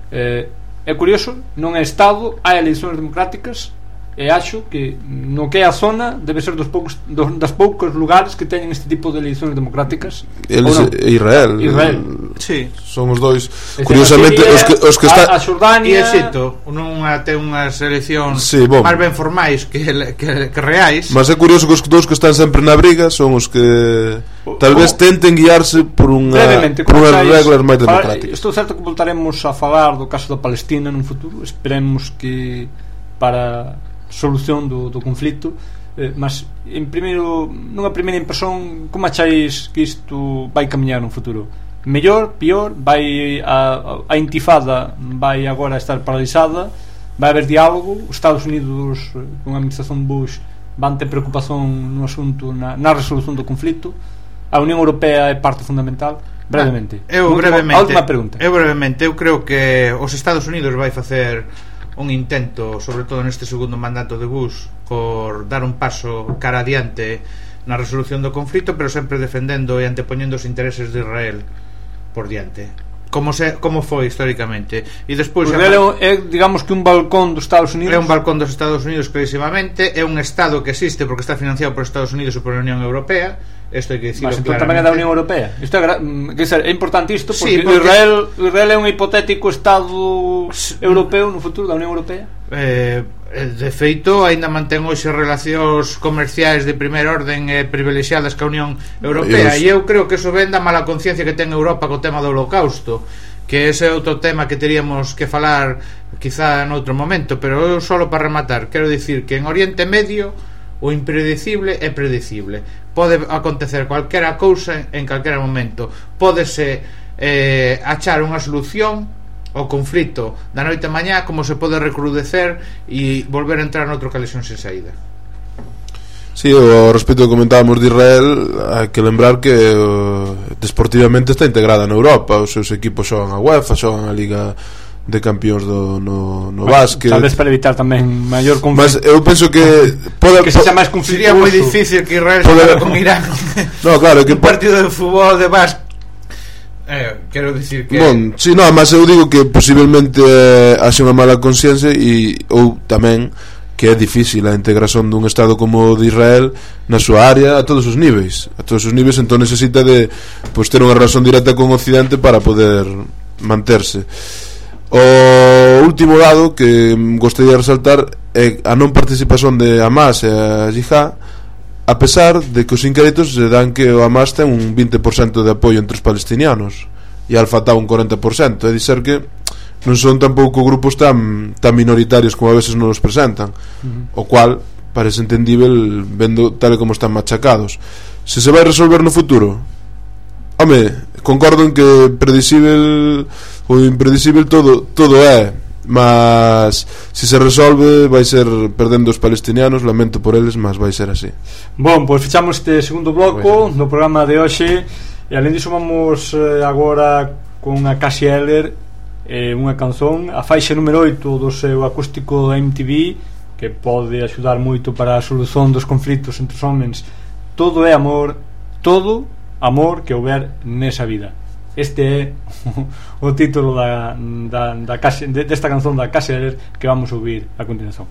eh, é curioso, non é Estado, hai eleições democráticas, e acho que no que é a zona debe ser dos poucos dos, das poucos lugares que teñen este tipo de eleições democráticas. Eles, ou non? Israel, Israel. Sí. son os dois. É dizer, Curiosamente, a Siria, os que, os que a, está a Xordania E Exito non ten unhas eleccións Sí, bom. máis ben formais que, que, que reais. Mas é curioso que os dous que están sempre na briga son os que tal vez tenten guiarse por unha brevemente, por como unhas sabes, reglas máis falar- democráticas. estou certo que voltaremos a falar do caso da Palestina nun futuro, esperemos que para solución do, do conflito, eh, mas en primeiro, nunha primeira impresión, como acháis que isto vai camiñar no futuro? Mellor, pior? Vai a, a intifada vai agora estar paralizada? Vai haber diálogo? Os Estados Unidos con a administración Bush van ter preocupación no asunto, na, na resolución do conflito? A Unión Europea é parte fundamental? Brevemente, Eu Última- brevemente a última pregunta. Eu brevemente, eu creo que os Estados Unidos vai facer un intento, sobre todo neste segundo mandato de Bush, por dar un paso cara adiante na resolución do conflito, pero sempre defendendo e antepoñendo os intereses de Israel por diante, como se como foi históricamente. E despois Israel é, digamos que un balcón dos Estados Unidos. é un balcón dos Estados Unidos clarísimamente, é un estado que existe porque está financiado por Estados Unidos e por a Unión Europea. Isto hai que dicirlo Mas entón claramente. tamén é da Unión Europea. Isto é, gra- mm, quer dizer, é importante isto porque, Sí, porque- Israel, Israel é un hipotético Estado europeo no futuro da Unión Europea. Eh, de feito, aínda mantén hoxe relacións comerciais de primeira orden e privilexiadas ca Unión Europea, E os- e eu creo que eso ven da mala conciencia que ten Europa co tema do Holocausto, que ese é outro tema que teríamos que falar quizá noutro momento, pero eu solo para rematar quero dicir que en Oriente Medio o impredecible é predecible. Pode acontecer calquera cousa en calquera momento. Pódese eh, achar unha solución ao conflito da noite a mañá, como se pode recrudecer e volver a entrar noutro calexón sen saída. Sí, ao respecto que comentábamos de Israel, hai que lembrar que uh, desportivamente está integrada na Europa. Os seus equipos xogan a UEFA, xogan a Liga de Campións do, no, no bueno, básquet. Tal vez para evitar tamén maior conflito. Mas eu penso que pode, que sexa máis conflito. Sería moi difícil que Israel xogara con Irán. No, claro, que un partido de fútbol de básquet. Eh, quero dicir que bon, sí, no, mas eu digo que posiblemente eh, haxe unha mala consciencia e ou tamén que é difícil a integración dun estado como o de Israel na súa área a todos os níveis a todos os níveis, entón necesita de pues, ter unha relación directa con o Occidente para poder manterse. O último dado que gostaría de resaltar é a non participación de Hamas e a Jihad, a pesar de que os inquéritos se dan que o Hamas ten un vinte por cento de apoio entre os palestinianos e Al-Fatah un cuarenta por cento, é dizer que non son tampouco grupos tan tan minoritarios como a veces non os presentan, uh-huh. o cual parece entendível vendo tal e como están machacados. Se se vai resolver no futuro, home, concordo en que predicível ou impredicível todo todo é, mas se se resolve vai ser perdendo os palestinianos, lamento por eles, mas vai ser así. Bon, pois pues fechamos este segundo bloco do programa de hoxe e alén disso vamos eh, agora con a Cassie Eller, eh, unha canción, a faixa número oito do seu acústico M T V, que pode axudar moito para a solución dos conflitos entre os homens. Todo é amor, todo amor que houber nesa vida. Este é o título da, da, da Cassie, de, desta canción da Cassie Eller que vamos a ouvir a continuación.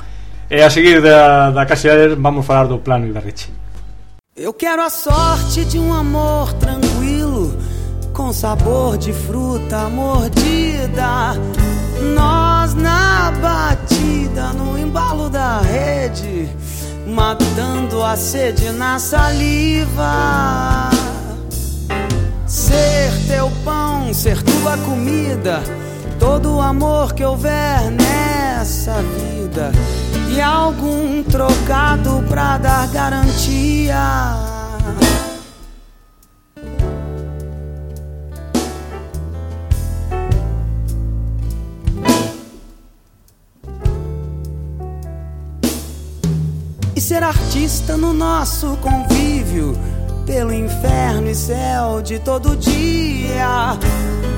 E a seguir da, da Cassie Eller vamos falar do Plano Ibarretxe. Eu quero a sorte de um amor tranquilo, com sabor de fruta mordida, nós na batida, no embalo da rede, matando a sede na saliva. Ser teu pão, ser tua comida, todo o amor que houver nessa vida, e algum trocado pra dar garantia. E ser artista no nosso convívio, pelo inferno e céu de todo dia,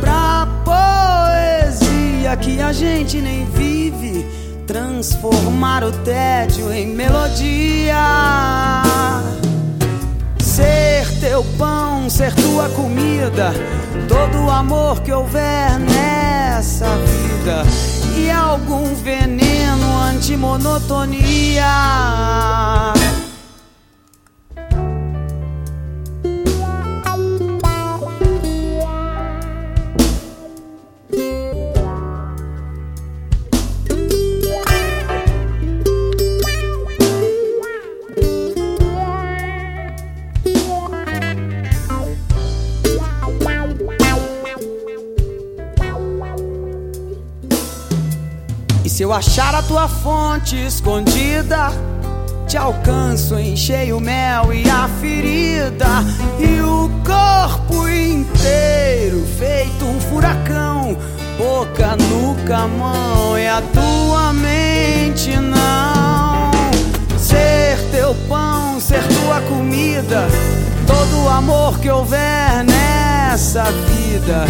pra poesia que a gente nem vive, transformar o tédio em melodia. Ser teu pão, ser tua comida, todo o amor que houver nessa vida, e algum veneno anti-monotonia. Se eu achar a tua fonte escondida, te alcanço, enchei o mel e a ferida, e o corpo inteiro feito um furacão, boca, nuca, mão e a tua mente não. Ser teu pão, ser tua comida, todo o amor que houver nessa vida,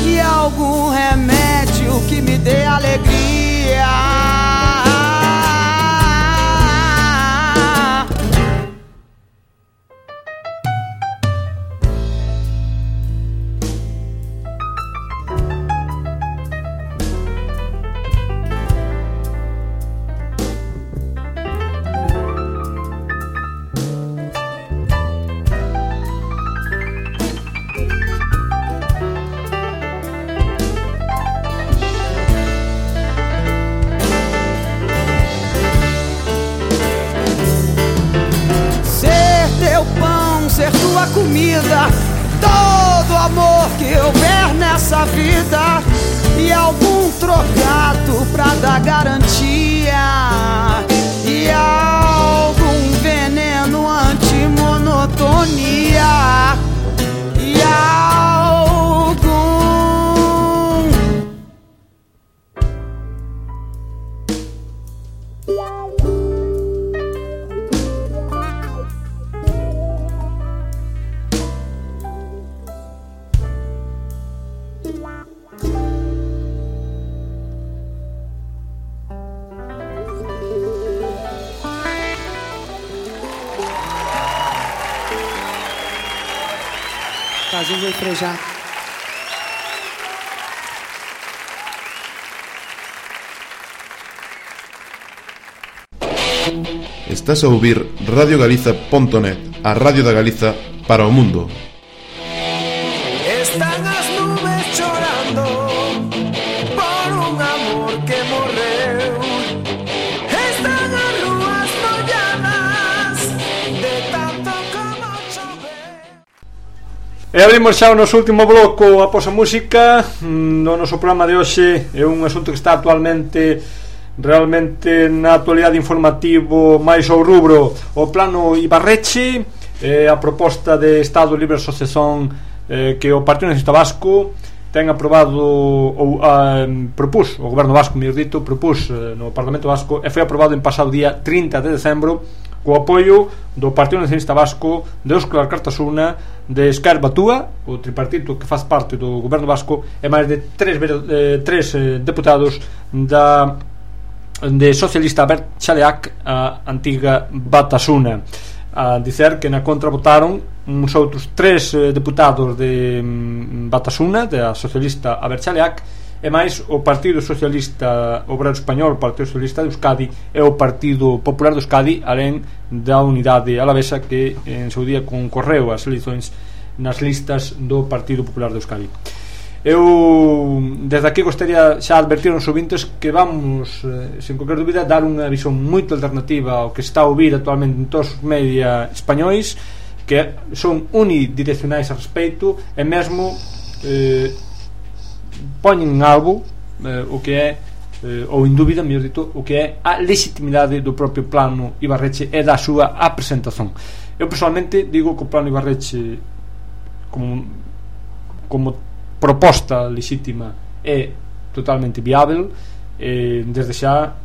e algum remédio que me dê alegria. Comida, todo amor que houver nessa vida, e algum trocado pra dar garantia, e algum veneno anti-monotonia, e algum a gente vai frejar. Estás a ouvir radio galiza punto net, a radio da Galiza para o mundo. Están as nubes chorando por un amor que morreu. Están as rúas molladas de tanto como chover. E abrimos xa o noso último bloco após a música. No noso programa de hoxe é un asunto que está actualmente realmente na actualidade informativo máis ao rubro o plano Ibarretxe, eh, a proposta de Estado Libre Asociación eh, que o Partido Nacionalista Vasco ten aprobado ou eh, propus, o Goberno Vasco, mellor dito, propus eh, no Parlamento Vasco e foi aprobado en pasado día trinta de decembro co apoio do Partido Nacionalista Vasco, de Óscar Cartasuna, de Esquerra Batúa, o tripartito que faz parte do Goberno Vasco, e máis de tres, eh, tres eh, deputados da de socialista Albert Chaleac, a antiga Batasuna. A dicer que na contra votaron uns outros tres eh, deputados de mm, Batasuna, da socialista Albert Chaleac, e máis o Partido Socialista Obrero Español, o Partido Socialista de Euskadi e o Partido Popular de Euskadi, alén da Unidade Alavesa, que en seu día concorreu as eleições nas listas do Partido Popular de Euskadi. Eu desde aquí gostaría xa advertir aos ouvintes que vamos, eh, sen qualquer dúbida, dar unha visión moito alternativa ao que está a ouvir actualmente en todos os media españois, que son unidireccionais a respeito e mesmo eh, poñen en algo eh, o que é eh, ou en dúbida, mellor dito, o que é a legitimidade do propio plano Ibarretxe e da súa apresentación. Eu personalmente digo que o plano Ibarretxe como como proposta legítima é totalmente viável, eh, desde xa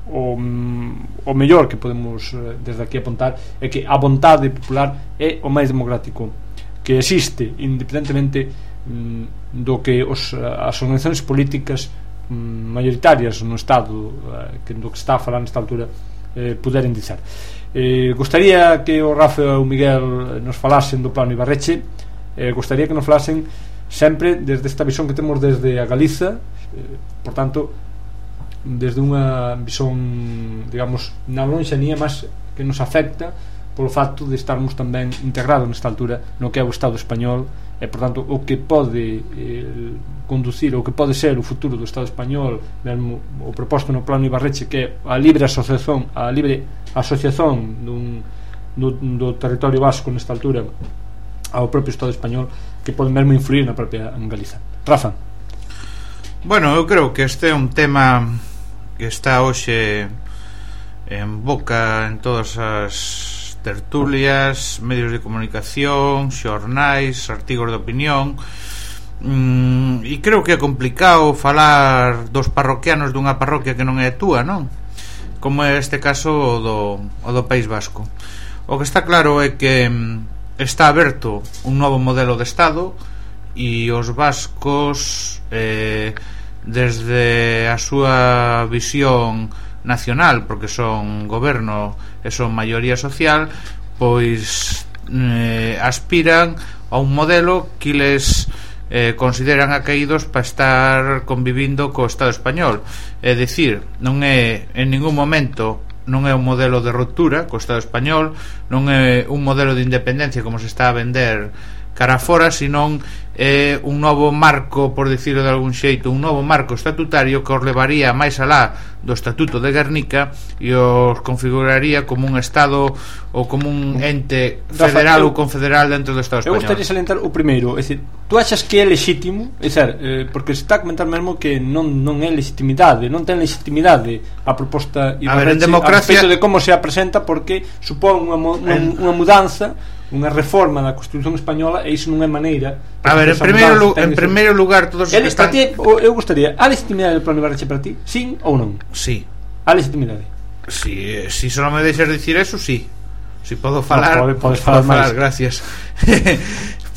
o, o mellor que podemos eh, desde aquí apuntar é que a vontade popular é o máis democrático que existe, independentemente mm, do que os, as organizacións políticas mm, mayoritarias no Estado eh, que do que está a falar nesta altura eh, puderen dizer. Eh, gostaría que o Rafa e o Miguel nos falasen do plano Ibarretxe, eh, gostaría que nos falasen sempre desde esta visión que temos desde a Galiza, eh, por tanto desde unha visión, digamos, na lonxanía, mas que nos afecta polo facto de estarmos tamén integrados nesta altura no que é o Estado español e, por tanto, o que pode eh, conducir, o que pode ser o futuro do Estado español, mesmo o proposto no plano Ibarretxe, que é a libre asociación a libre asociación dun, do, do territorio vasco nesta altura ao propio Estado español, que pode mesmo influir na propia en Galiza. Rafa. Bueno, eu creo que este é un tema que está hoxe en boca en todas as tertulias, medios de comunicación, xornais, artigos de opinión, mm, e creo que é complicado falar dos parroquianos dunha parroquia que non é túa, non? Como é este caso o do, o do País Vasco. O que está claro é que está aberto un novo modelo de Estado e os vascos eh, desde a súa visión nacional, porque son goberno e son maioría social, pois eh, aspiran a un modelo que les eh, consideran acaídos para estar convivindo co Estado español. É dicir, non é en ningún momento non é un modelo de ruptura co Estado español, non é un modelo de independencia como se está a vender cara fora, senón é un novo marco, por dicirlo de algún xeito, un novo marco estatutario que os levaría máis alá do Estatuto de Guernica e os configuraría como un Estado ou como un ente federal ou confederal dentro do Estado español. Eu gostaria de salientar o primeiro, é dicir, tú achas que é lexítimo? É dicir, eh, porque se está a comentar mesmo que non, non é legitimidade, non ten legitimidade a proposta Ibarretxe a respecto de como se apresenta, porque supón unha, unha, unha mudanza, unha reforma da Constitución española, e iso non é maneira. A ver, en primeiro, lu en primeiro lugar, todos os que están... Ti, eu gostaría, a legitimidade do plano Ibarretxe para ti, sí ou non? Sí. A legitimidade. Si, si só me deixas dicir eso, sí. Si podo falar, no, pode, podes falar, falar, gracias.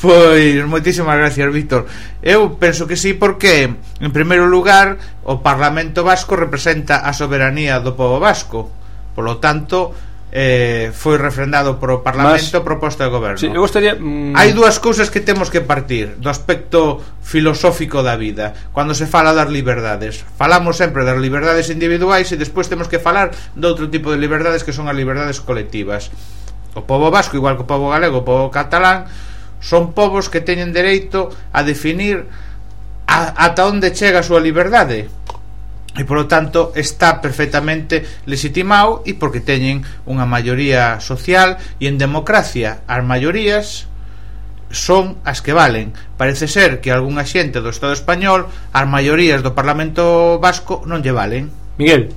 Pois, moitísimas gracias, Víctor. Eu penso que sí, porque en primeiro lugar o Parlamento Vasco representa a soberanía do pobo vasco. Por lo tanto, eh, foi refrendado por o Parlamento. Mas, proposta de goberno. Sí, eu gostaría, mm... hai dúas cousas que temos que partir do aspecto filosófico da vida cando se fala das liberdades. Falamos sempre das liberdades individuais e despois temos que falar de outro tipo de liberdades que son as liberdades colectivas. O pobo vasco, igual que o pobo galego, o pobo catalán, son povos que teñen dereito a definir a, ata onde chega a súa liberdade, e polo tanto está perfectamente legitimado, e porque teñen unha maioría social, e en democracia as maiorías son as que valen. Parece ser que algunha xente do Estado español as maiorías do Parlamento vasco non lle valen. Miguel,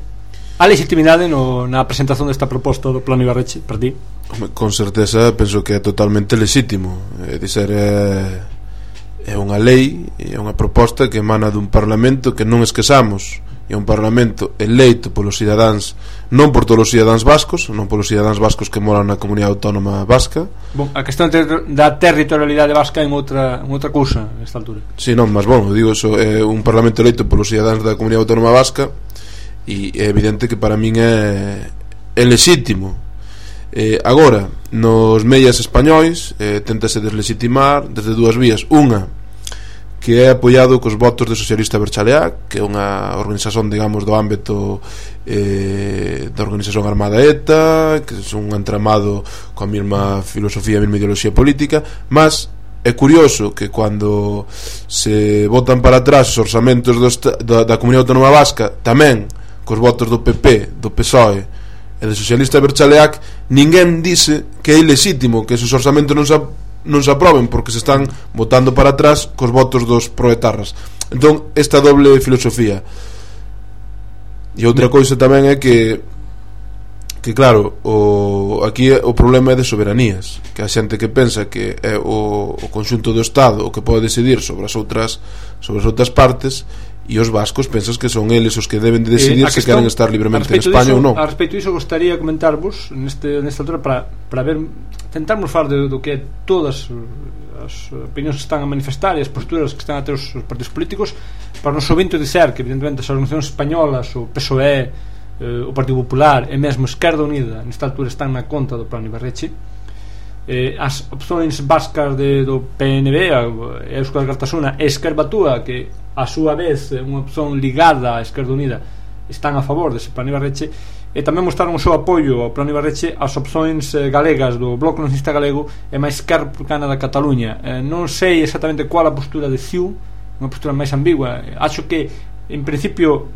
a legitimidade no, na presentación desta proposta do Plano Ibarretxe para ti? Con certeza penso que é totalmente lexítimo. É dizer, é, é unha lei, é unha proposta que emana dun Parlamento que non esquezamos, é un Parlamento eleito polos cidadáns, non por todos os cidadáns vascos, non polos cidadáns vascos que moran na comunidade autónoma vasca. Bon, a questão da territorialidade vasca é outra, outra cousa nesta altura. Si, sí, non, mas bon, digo, eso é un Parlamento eleito polos cidadáns da comunidade autónoma vasca, e é evidente que para min é, é lexítimo. Eh, agora, nos medias españois eh, tentase deslegitimar desde dúas vías. Unha, que é apoiado cos votos de Socialista Berchaleá, que é unha organización, digamos, do ámbito eh, da organización armada ETA, que é un entramado coa mesma filosofía, a mesma ideoloxía política. Mas é curioso que cando se votan para atrás os orzamentos do, da, da Comunidade Autónoma Vasca, tamén cos votos do P P, do P S O E e do Socialista Berchaleac, ninguén dice que é ilexítimo que esos orzamentos non se non se aproben, porque se están votando para atrás cos votos dos proetarras. Entón, esta doble filosofía. E outra cousa tamén é que que claro, o, aquí o problema é de soberanías, que a xente que pensa que é o, o conxunto do Estado o que pode decidir sobre as outras sobre as outras partes, e os vascos pensas que son eles os que deben de decidir eh, se queren estar libremente en España diso, ou non. A respecto disso, gostaría comentarvos neste, nesta altura para, para ver, tentarmos falar de, do que é todas as opinións que están a manifestar e as posturas que están a ter os, os partidos políticos, para nos ouvinte dizer que evidentemente as organizacións españolas, o P S O E, eh, o Partido Popular e mesmo Esquerda Unida nesta altura están na conta do Plano Ibarretxe. Eh, as opções vascas de, do P N B, Euskal Alkartasuna e Esquerda Batúa, que a súa vez é unha opción ligada á Esquerda Unida, están a favor dese Plano Ibarretxe, e tamén mostraron o seu apoio ao Plano Ibarretxe as opções eh, galegas do Bloco Nacionalista Galego e máis Esquerda Republicana da Cataluña. Eh, non sei exactamente qual a postura de C I U, unha postura máis ambigua. Acho que en principio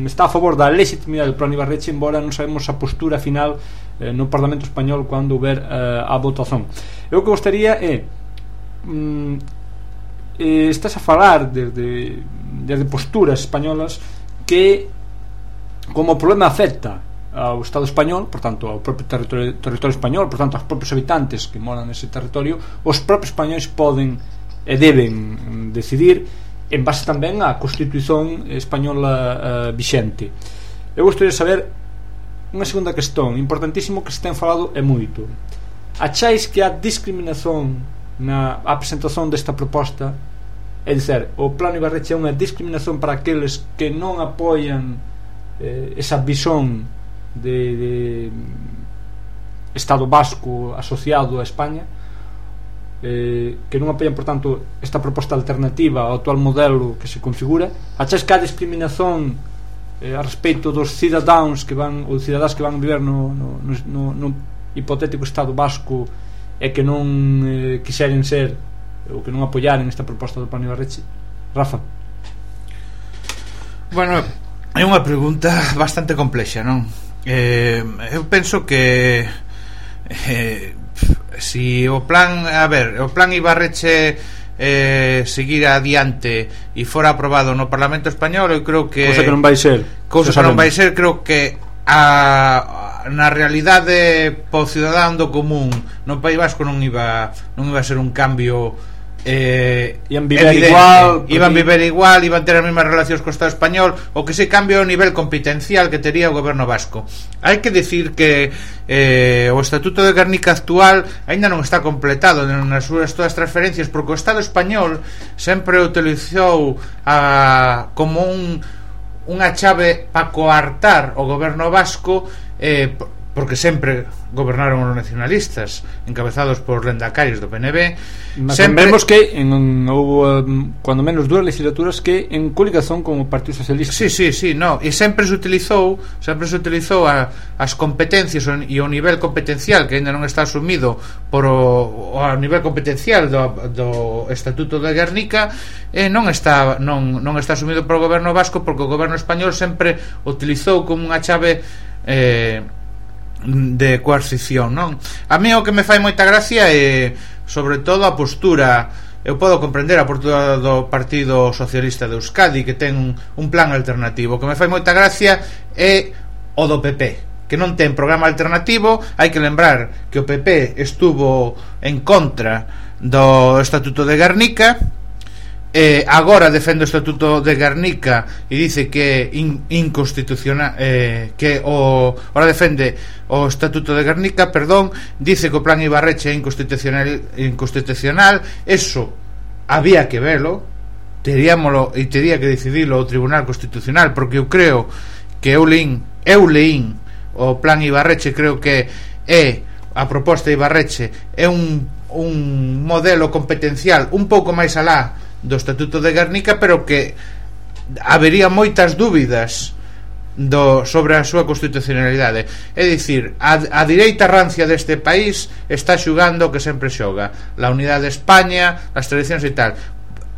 está a favor da legitimidade do Plano Ibarretxe, embora non sabemos a postura final eh, no Parlamento Español cando houber eh, a votación. Eu o que gostaría é mm, eh, estás a falar desde, desde posturas españolas que como o problema afecta ao Estado español, por tanto ao propio territorio, territorio español, por tanto aos propios habitantes que moran nese territorio, os propios españois poden e deben decidir en base tamén á Constitución española uh, vixente. Eu gostaria de saber unha segunda cuestión importantísimo que se ten falado e moito. Acháis que a discriminación na a presentación desta proposta, é dizer, o Plano Ibarretxe é unha discriminación para aqueles que non apoian eh, esa visón de, de Estado vasco asociado a España, eh, que non apoian, por tanto, esta proposta alternativa ao actual modelo que se configura? Acháis que a discriminación eh, a respecto dos cidadáns que van, ou cidadás que van viver no, no, no, no hipotético Estado vasco e que non eh, quixeren ser ou que non apoiaren esta proposta do Plano Ibarretxe? Rafa. Bueno, é unha pregunta bastante complexa, non? Eh, eu penso que eh, si o plan, a ver, o Plan Ibarretxe eh, seguir adiante e fora aprobado no Parlamento Español, eu creo que cousa que non vai ser cousa que non vai ser, creo que a na realidade po cidadán do común no País Vasco non iba non iba a ser un cambio eh, iban viver evidente. igual iban viver igual, iban ter as mesmas relacións co Estado español, o que se cambia o nivel competencial que tería o goberno vasco. Hai que decir que eh, o Estatuto de Gernika actual aínda non está completado nas súas todas as transferencias, porque o Estado español sempre utilizou a, como un unha chave para coartar o goberno vasco, eh, porque sempre gobernaron os nacionalistas encabezados por Lendacaris do P N V. Mas sempre... vemos que en, houve um, cuando menos dúas legislaturas que en coligación con o Partido Socialista. Sí, sí, sí, no, e sempre se utilizou sempre se utilizou a, as competencias e o nivel competencial que ainda non está asumido por o, o a nivel competencial do, do Estatuto de Guernica, e non está non, non está asumido por o goberno vasco, porque o goberno español sempre utilizou como unha chave eh, de coercición, non? A mí o que me fai moita gracia é sobre todo a postura. Eu podo comprender a postura do Partido Socialista de Euskadi, que ten un, un plan alternativo. O que me fai moita gracia é o do P P, que non ten programa alternativo. Hai que lembrar que o P P estuvo en contra do Estatuto de Guernica, eh, agora defende o Estatuto de Guernica e dice que in, inconstitucional, eh, que o ahora defende o Estatuto de Guernica, perdón, dice que o plan Ibarretxe é inconstitucional, inconstitucional. Eso había que velo, teríamolo e tería que decidirlo o Tribunal Constitucional, porque eu creo que eu leín, eu leín o plan Ibarretxe, creo que é a proposta de Ibarretxe é un, un modelo competencial un pouco máis alá do Estatuto de Guernica, pero que habería moitas dúbidas do, sobre a súa constitucionalidade. É dicir, a, a direita rancia deste país está xugando o que sempre xoga, la unidade de España, as tradicións e tal.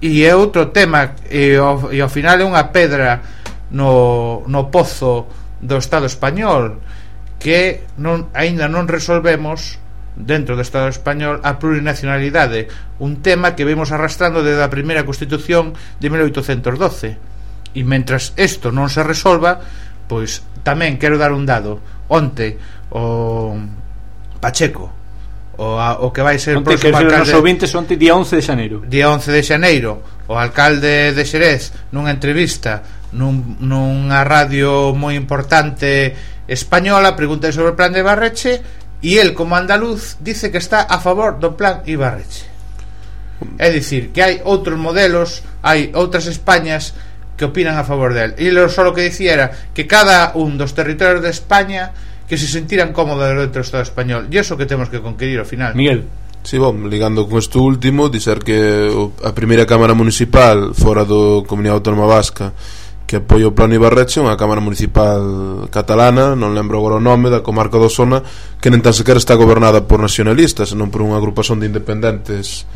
E é outro tema, e ao, e ao final é unha pedra no, no pozo do Estado español, que non, aínda non resolvemos dentro do Estado español a plurinacionalidade, un tema que vemos arrastrando desde a primeira Constitución de mil oitocentos doce. E mentras isto non se resolva, pois tamén quero dar un dado. Onte o Pacheco, o, a, o que vai ser o próximo alcalde, nos vinte, onte, día once de xaneiro día once de xaneiro, o alcalde de Xerez, nunha entrevista nun, nunha radio moi importante española, pregunta sobre o plan de Ibarretxe, e el, como andaluz, dice que está a favor do plan Ibarretxe. É dicir, que hai outros modelos, hai outras Españas que opinan a favor del. E lo só que dicía era que cada un dos territorios de España que se sentiran cómodos dentro do Estado español, e iso que temos que conquerir ao final. Miguel. Sí, bom, ligando con isto último, dizer que a primeira Cámara Municipal fora do Comunidade Autónoma Vasca que apoia o plan Ibarretxe, unha Cámara Municipal catalana, non lembro agora o nome, da comarca do Sona, que nen tan sequera está gobernada por nacionalistas, senón por unha agrupación de independentes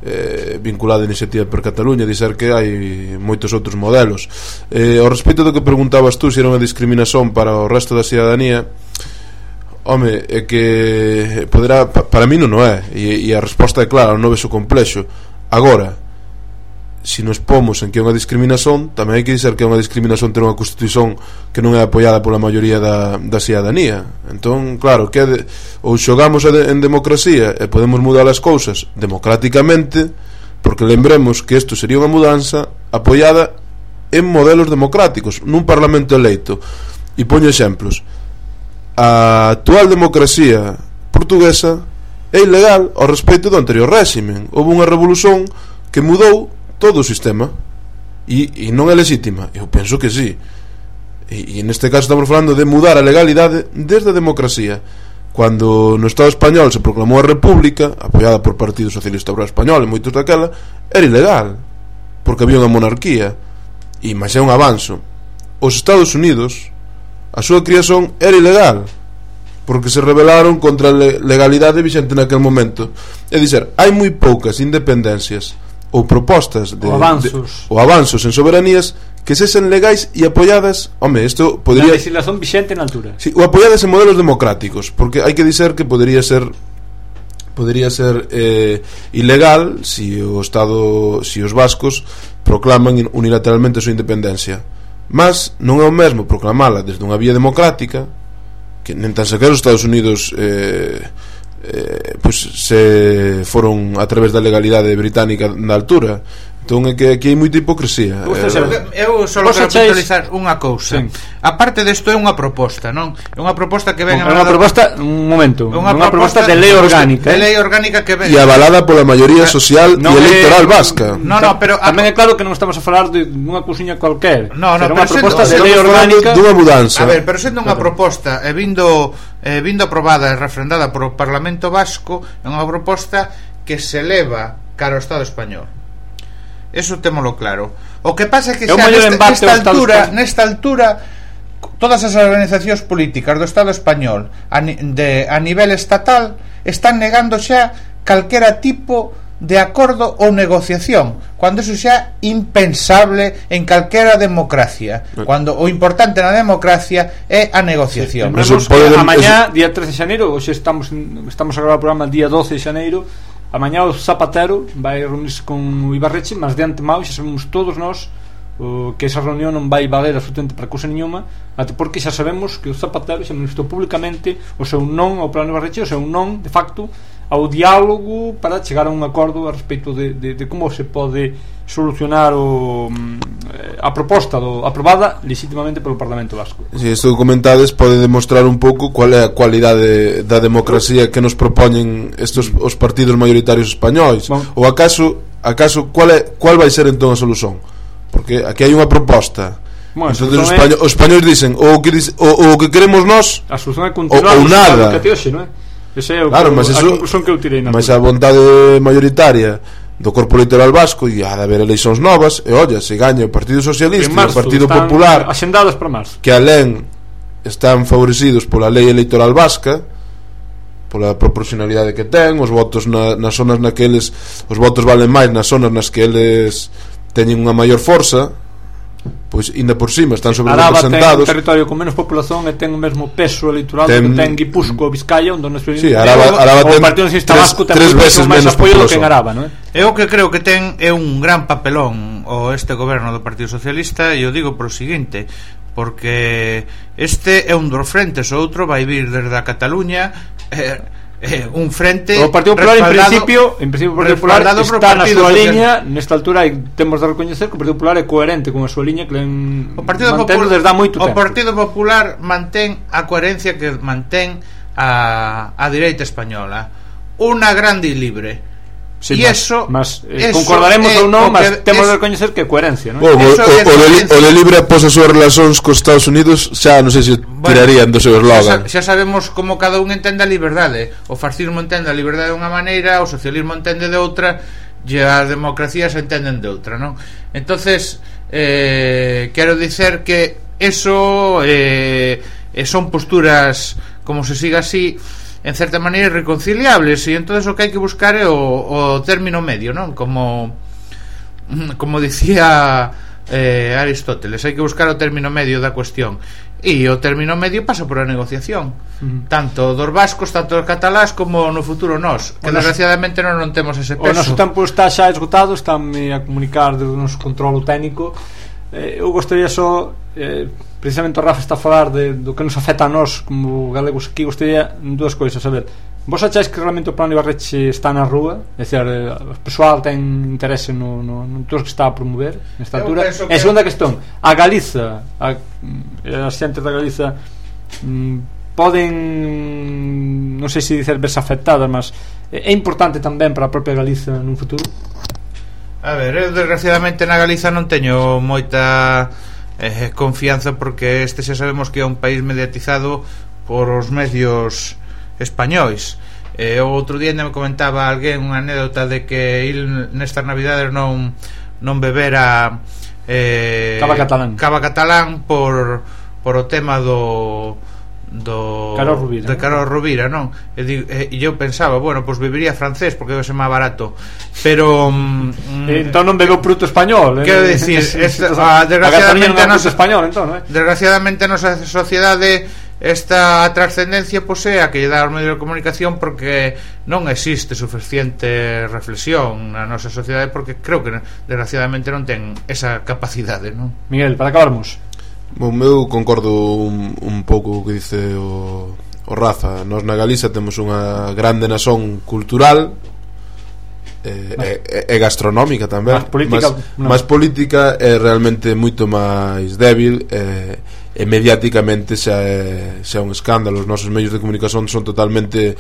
eh, vinculada a Iniciativa per Cataluña. Dizer que hai moitos outros modelos. Eh, ao respecto do que preguntabas tú, se era unha discriminación para o resto da cidadanía, home, é que poderá, para mí non o é, e, e a resposta é clara, non vexo complexo. Agora, se nos pomos en que é unha discriminación, tamén hai que dizer que é unha discriminación ter unha constitución que non é apoiada pola maioría da, da cidadanía. Entón, claro, que de, ou xogamos de, en democracia e podemos mudar as cousas democráticamente, porque lembremos que isto sería unha mudanza apoiada en modelos democráticos, nun parlamento eleito. E poño exemplos. A actual democracia portuguesa é ilegal ao respecto do anterior réximen. Houve unha revolución que mudou todo o sistema e, e non é legítima. Eu penso que sí, e, e neste caso estamos falando de mudar a legalidade desde a democracia. Cando no Estado español se proclamou a República, apoiada por Partido Socialista Obrero Español e moitos daquela, era ilegal porque había unha monarquía. E máis é un avanzo. Os Estados Unidos, a súa creación era ilegal porque se rebelaron contra a legalidade vixente naquele momento. É dizer, hai moi poucas independencias ou propostas de, ou avanzos, de, ou avanzos en soberanías que sesen legais e apoiadas, home, isto podría, na legislación vixente na altura, sí, ou apoiadas en modelos democráticos, porque hai que dizer que podería ser podería ser eh, ilegal se si o Estado, se si os vascos proclaman unilateralmente a súa independencia, mas non é o mesmo proclamala desde unha vía democrática, que nen tan sequer os Estados Unidos eh, Eh, pues se foron a través da legalidade británica na altura. Entón é que aquí hai moita hipocresía. eh, Eu só quero puntualizar unha cousa. Sí. A parte desto é unha proposta, non? É unha proposta que ven é unha proposta, un momento, unha, unha proposta, proposta de lei orgánica, de lei orgánica que ven e avalada pola maioría social no, e electoral é, vasca. No, no, pero tamén é claro que non estamos a falar de unha cousiña cualquer. No, no, pero unha proposta de lei orgánica dunha mudanza. A ver, pero sendo unha proposta e vindo eh, vindo aprobada e refrendada por o Parlamento Vasco, é unha proposta que se eleva cara ao Estado español. Eso témolo claro. O que pasa é que xa nesta, nesta altura, nesta altura todas as organizacións políticas do Estado español a, de, a nivel estatal están negando xa calquera tipo de acordo ou negociación, cando eso xa impensable en calquera democracia, cando o importante na democracia é a negociación. Sí, pode... a mañá, día trece de xaneiro, hoxe estamos estamos a gravar o programa día doce de xaneiro, a mañá o Zapatero vai reunirse con o Ibarretxe, mas de antemao xa sabemos todos nós o, que esa reunión non vai valer absolutamente para cousa nenhuma, até porque xa sabemos que o Zapatero xa manifestou públicamente o seu non ao plano Ibarretxe, o seu non, de facto, ao diálogo para chegar a un acordo a respecto de, de, de como se pode solucionar o, a proposta do, aprobada legítimamente polo Parlamento Vasco. Si isto que comentades pode demostrar un pouco cual é a cualidade da democracia que nos propoñen estos os partidos maioritarios españois. Bueno, ou acaso acaso cual é cual vai ser entón a solución? Porque aquí hai unha proposta. Bueno, entón os, españo, é... os españois dicen o que o, o que queremos nós, a solución é continuar ou nada. Hoxe, non é? Ese é o claro, que, mas a eso, conclusión que eu tirei na mas a vontade mayoritaria do corpo electoral vasco e ha de haber eleições novas e olla, se gaña o Partido Socialista e o Partido Popular axendadas para marzo, que alén están favorecidos pola lei electoral vasca, pola proporcionalidade que ten, os votos na, nas zonas naqueles, os votos valen máis nas zonas nas que eles teñen unha maior forza, pois ainda por cima están sobre representados. Araba ten un territorio con menos populación e ten o mesmo peso electoral ten, que ten Guipúzcoa ou Vizcaya, onde non sí, Araba, Araba o Partido Nacionalista Vasco ten tres veces menos apoio do que en Araba, non é? Eu que creo que ten é un gran papelón o este goberno do Partido Socialista, e eu digo por o seguinte, porque este é un dos frentes, o outro vai vir desde a Cataluña, eh, Eh, un frente o Partido Popular en principio, en principio o Partido Popular está na súa liña, nesta altura temos de recoñecer que o Partido Popular é coherente con a súa liña que len o Partido mantén Popular, desde há moito tempo. O Partido Popular mantén a coherencia que mantén a, a direita española, unha grande e libre. Sí, e eso, mas, eh, eso concordaremos ou non, mas temos de recoñecer que é coherencia, non? O, o, o, o, de, o de libre após as súas relacións cos Estados Unidos xa non sei se bueno, tirarían do seu eslogan. Xa, xa sabemos como cada un entende a liberdade. O fascismo entende a liberdade de unha maneira, o socialismo entende de outra, e as democracias entenden de outra, non? Entonces, eh, quero dicer que eso eh, son posturas, como se siga así, en certa maneira irreconciliables, e entonces o que hai que buscar é o, o término medio, non? Como como dicía eh, Aristóteles, hai que buscar o término medio da cuestión, e o término medio pasa por a negociación, uh-huh. tanto dos vascos, tanto dos catalás, como no futuro nós, que o desgraciadamente non, non temos ese peso. O noso tempo está xa esgotado, estánme a comunicar do noso controlo técnico. eh, eu gostaria só eh, precisamente o Rafa está a falar de, do que nos afecta a nós como galegos aquí. Gostaria dúas coisas, a ver, vos acháis que realmente o plano Ibarretxe está na rúa, é dicir, o persoal ten interese no, no, no todo que está a promover nesta altura? E a segunda cuestión, a Galiza, a, as xentes da Galiza mm, poden, non sei se dicer verse afectadas, mas é importante tamén para a propia Galiza nun futuro? A ver, eu desgraciadamente na Galiza non teño moita eh, confianza, porque este xa sabemos que é un país mediatizado por os medios españois. Eh, o outro día me comentaba alguén unha anécdota de que il nestas navidades non non bebera eh, cava catalán, cava catalán por, por o tema do do Carol Rovira, de Carol Rovira, non? E, e, e eu pensaba, bueno, pois pues bebería francés porque debe ser máis barato, pero mm, entón non bebeu produto español, quero eh? dicir, esta, a, desgraciadamente a nosa español, entón, eh? desgraciadamente a nosa sociedade esta trascendencia posee a que lle dá aos medios de comunicación, porque non existe suficiente reflexión na nosa sociedade, porque creo que desgraciadamente non ten esa capacidade, non? Miguel, para acabarmos. Bom, eu concordo un, un pouco o que dice o, o Rafa. Nós na Galiza temos unha grande nación cultural e, e, e gastronómica tamén, mas política, mas, no. mas política é realmente moito máis débil, e, e mediáticamente xa é, xa é un escándalo. Os nosos medios de comunicación son totalmente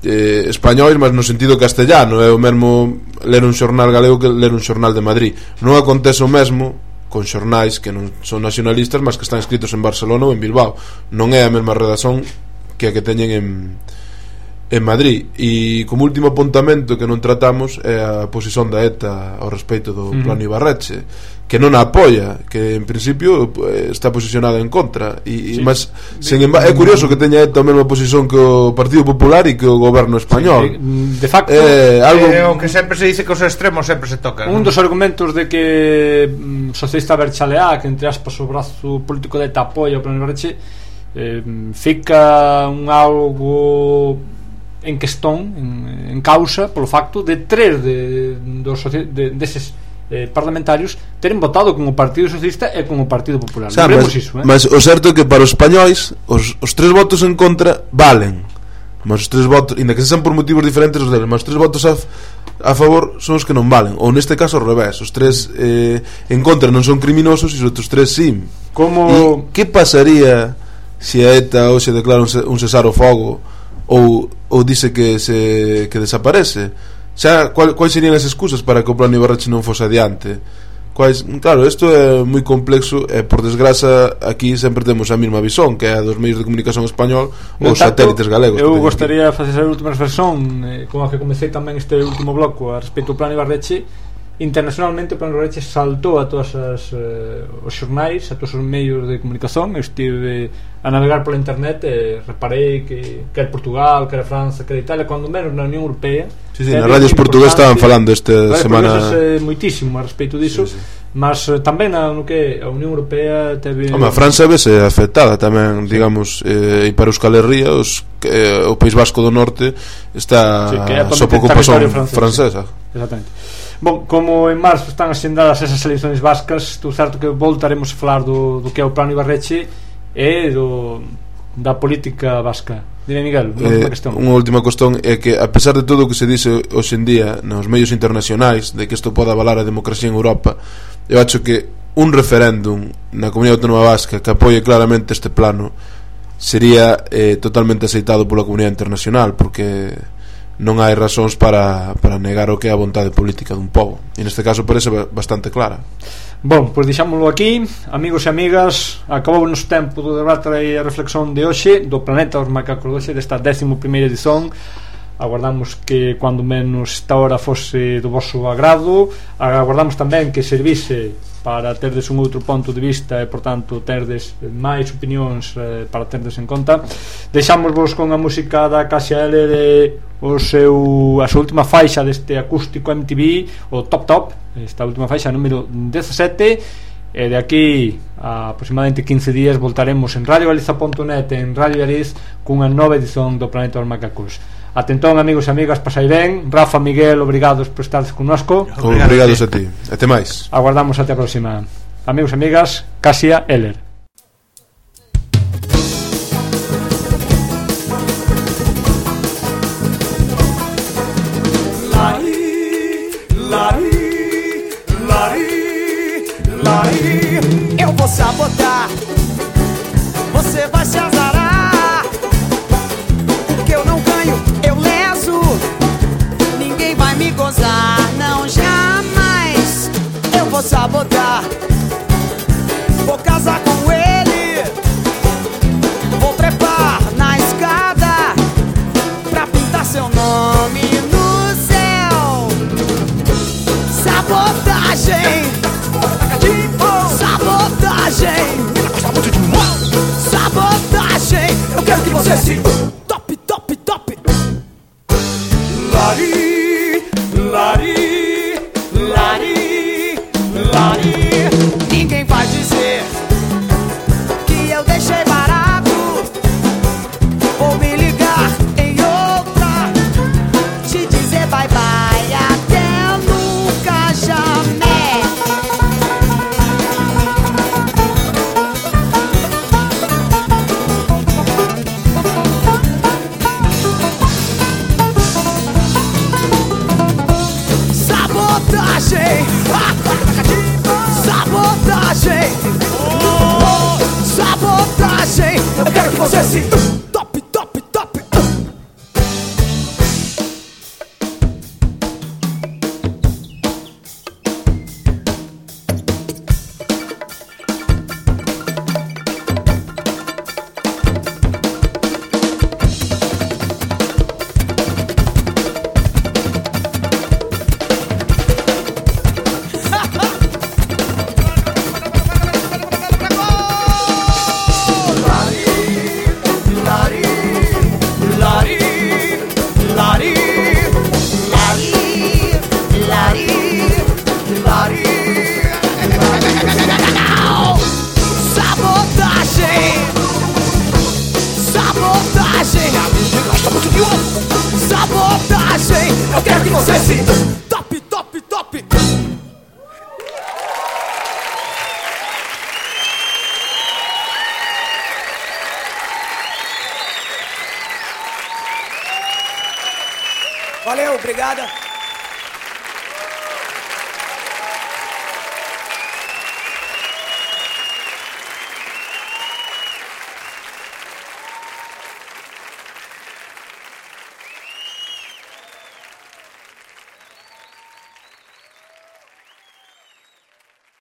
eh, españois, mas no sentido castellano. É o mesmo ler un xornal galego que ler un xornal de Madrid. Non acontece o mesmo con xornais que non son nacionalistas, mas que están escritos en Barcelona ou en Bilbao. Non é a mesma redacción que a que teñen en en Madrid. E como último apuntamento que non tratamos é a posición da ETA ao respecto do uh-huh. plano Ibarretxe, que non a apoia, que en principio está posicionada en contra e, sí. mas sen embargo, é curioso que teña ETA a mesma posición que o Partido Popular e que o goberno español. Sí, de facto é algo é o que sempre se dice que os extremos sempre se tocan. Un dos argumentos de que mm, socialista Berchaleá, que entre aspas o brazo político de ETA apoia o plano Ibarretxe, eh, fica un algo en questón, en, en causa polo facto de tres de, dos de, deses eh, parlamentarios teren votado con o Partido Socialista e con o Partido Popular. O sea, mas, iso, eh? mas o certo é que para os españois os, os tres votos en contra valen, mas os tres votos, inda que sexan por motivos diferentes os deles, mas os tres votos a, a favor son os que non valen, ou neste caso ao revés, os tres eh, en contra non son criminosos e os outros tres sí. Como... E que pasaría se a ETA hoxe declara un, un cesar o fogo ou, ou dice que se que desaparece? Xa, cual, quais serían as excusas para que o plano Ibarretxe non fose adiante? Quais, claro, isto é moi complexo e por desgraza aquí sempre temos a mesma visón, que é a dos medios de comunicación español ou os satélites galegos. Eu gostaría de facer a última reflexión eh, con a que comecei tamén este último bloco a respecto do plano Ibarretxe. Internacionalmente o plano Ibarretxe saltou a todos as, eh, os xornais, a todos os medios de comunicación. Eu estive a navegar pola internet e reparei que quer Portugal, quer França, quer Italia, cando menos na Unión Europea. Sí, sí, nas radios portuguesas estaban falando esta vale, semana eh, moitísimo a respecto disso, sí, sí. Mas eh, tamén na, no que a Unión Europea teve... Home, a França vese afectada tamén, digamos, eh, e para Euskal Herria os, eh, o País Vasco do Norte está sí, sob ocupación francesa. Sí. Exactamente. Bon, como en marzo están asendadas esas eleições vascas, tú certo que voltaremos a falar do, do que é o plano Ibarretxe e do, da política vasca. Dime, Miguel, eh, unha última cuestión é que a pesar de todo o que se dice hoxe en día nos medios internacionais de que isto pode avalar a democracia en Europa, eu acho que un referéndum na Comunidade Autónoma Vasca que apoie claramente este plano sería eh, totalmente aceitado pola comunidade internacional, porque non hai razóns para, para negar o que é a vontade política dun pobo, e neste caso parece bastante clara. Bon, pois deixámoslo aquí, amigos e amigas. Acabou o noso tempo do debate e a reflexión de hoxe do Planeta dos Macacos de hoxe, desta décimo primeira edición. Aguardamos que cuando menos esta hora fose do vosso agrado. Aguardamos tamén que servise para terdes un outro ponto de vista e, por tanto, terdes máis opinións eh, para terdes en conta. Deixámosvos con a música da Casia L de o seu, a súa última faixa deste acústico M T V, o Top Top, esta última faixa número dezasete. E de aquí a aproximadamente quince días voltaremos en radio galiza punto net e en Radio Ariz cunha nova edición do Planeta dos Macacos. Atentón, amigos e amigas, pasai ben. Rafa, Miguel, obrigados por estar connosco. Obrigados a ti, até máis. Aguardamos até a próxima. Amigos e amigas, Casia Eller. Eu vou sabotar, você vai se azarar. Porque eu não ganho, eu leso. Ninguém vai me gozar, não, jamais. Eu vou sabotar, vou casar com ele. Vou trepar na escada pra pintar seu nome no céu. Sabotagem, sabotagem, sabotagem. Eu quero que você se top, top, top. Lari, lari, lari, lari. Ninguém vai dizer que eu deixei barato. Vou me ligar em outra, te dizer bye bye até nunca jamais. sabotagem. Eu quero que você se top, top, top. Valeu, obrigada.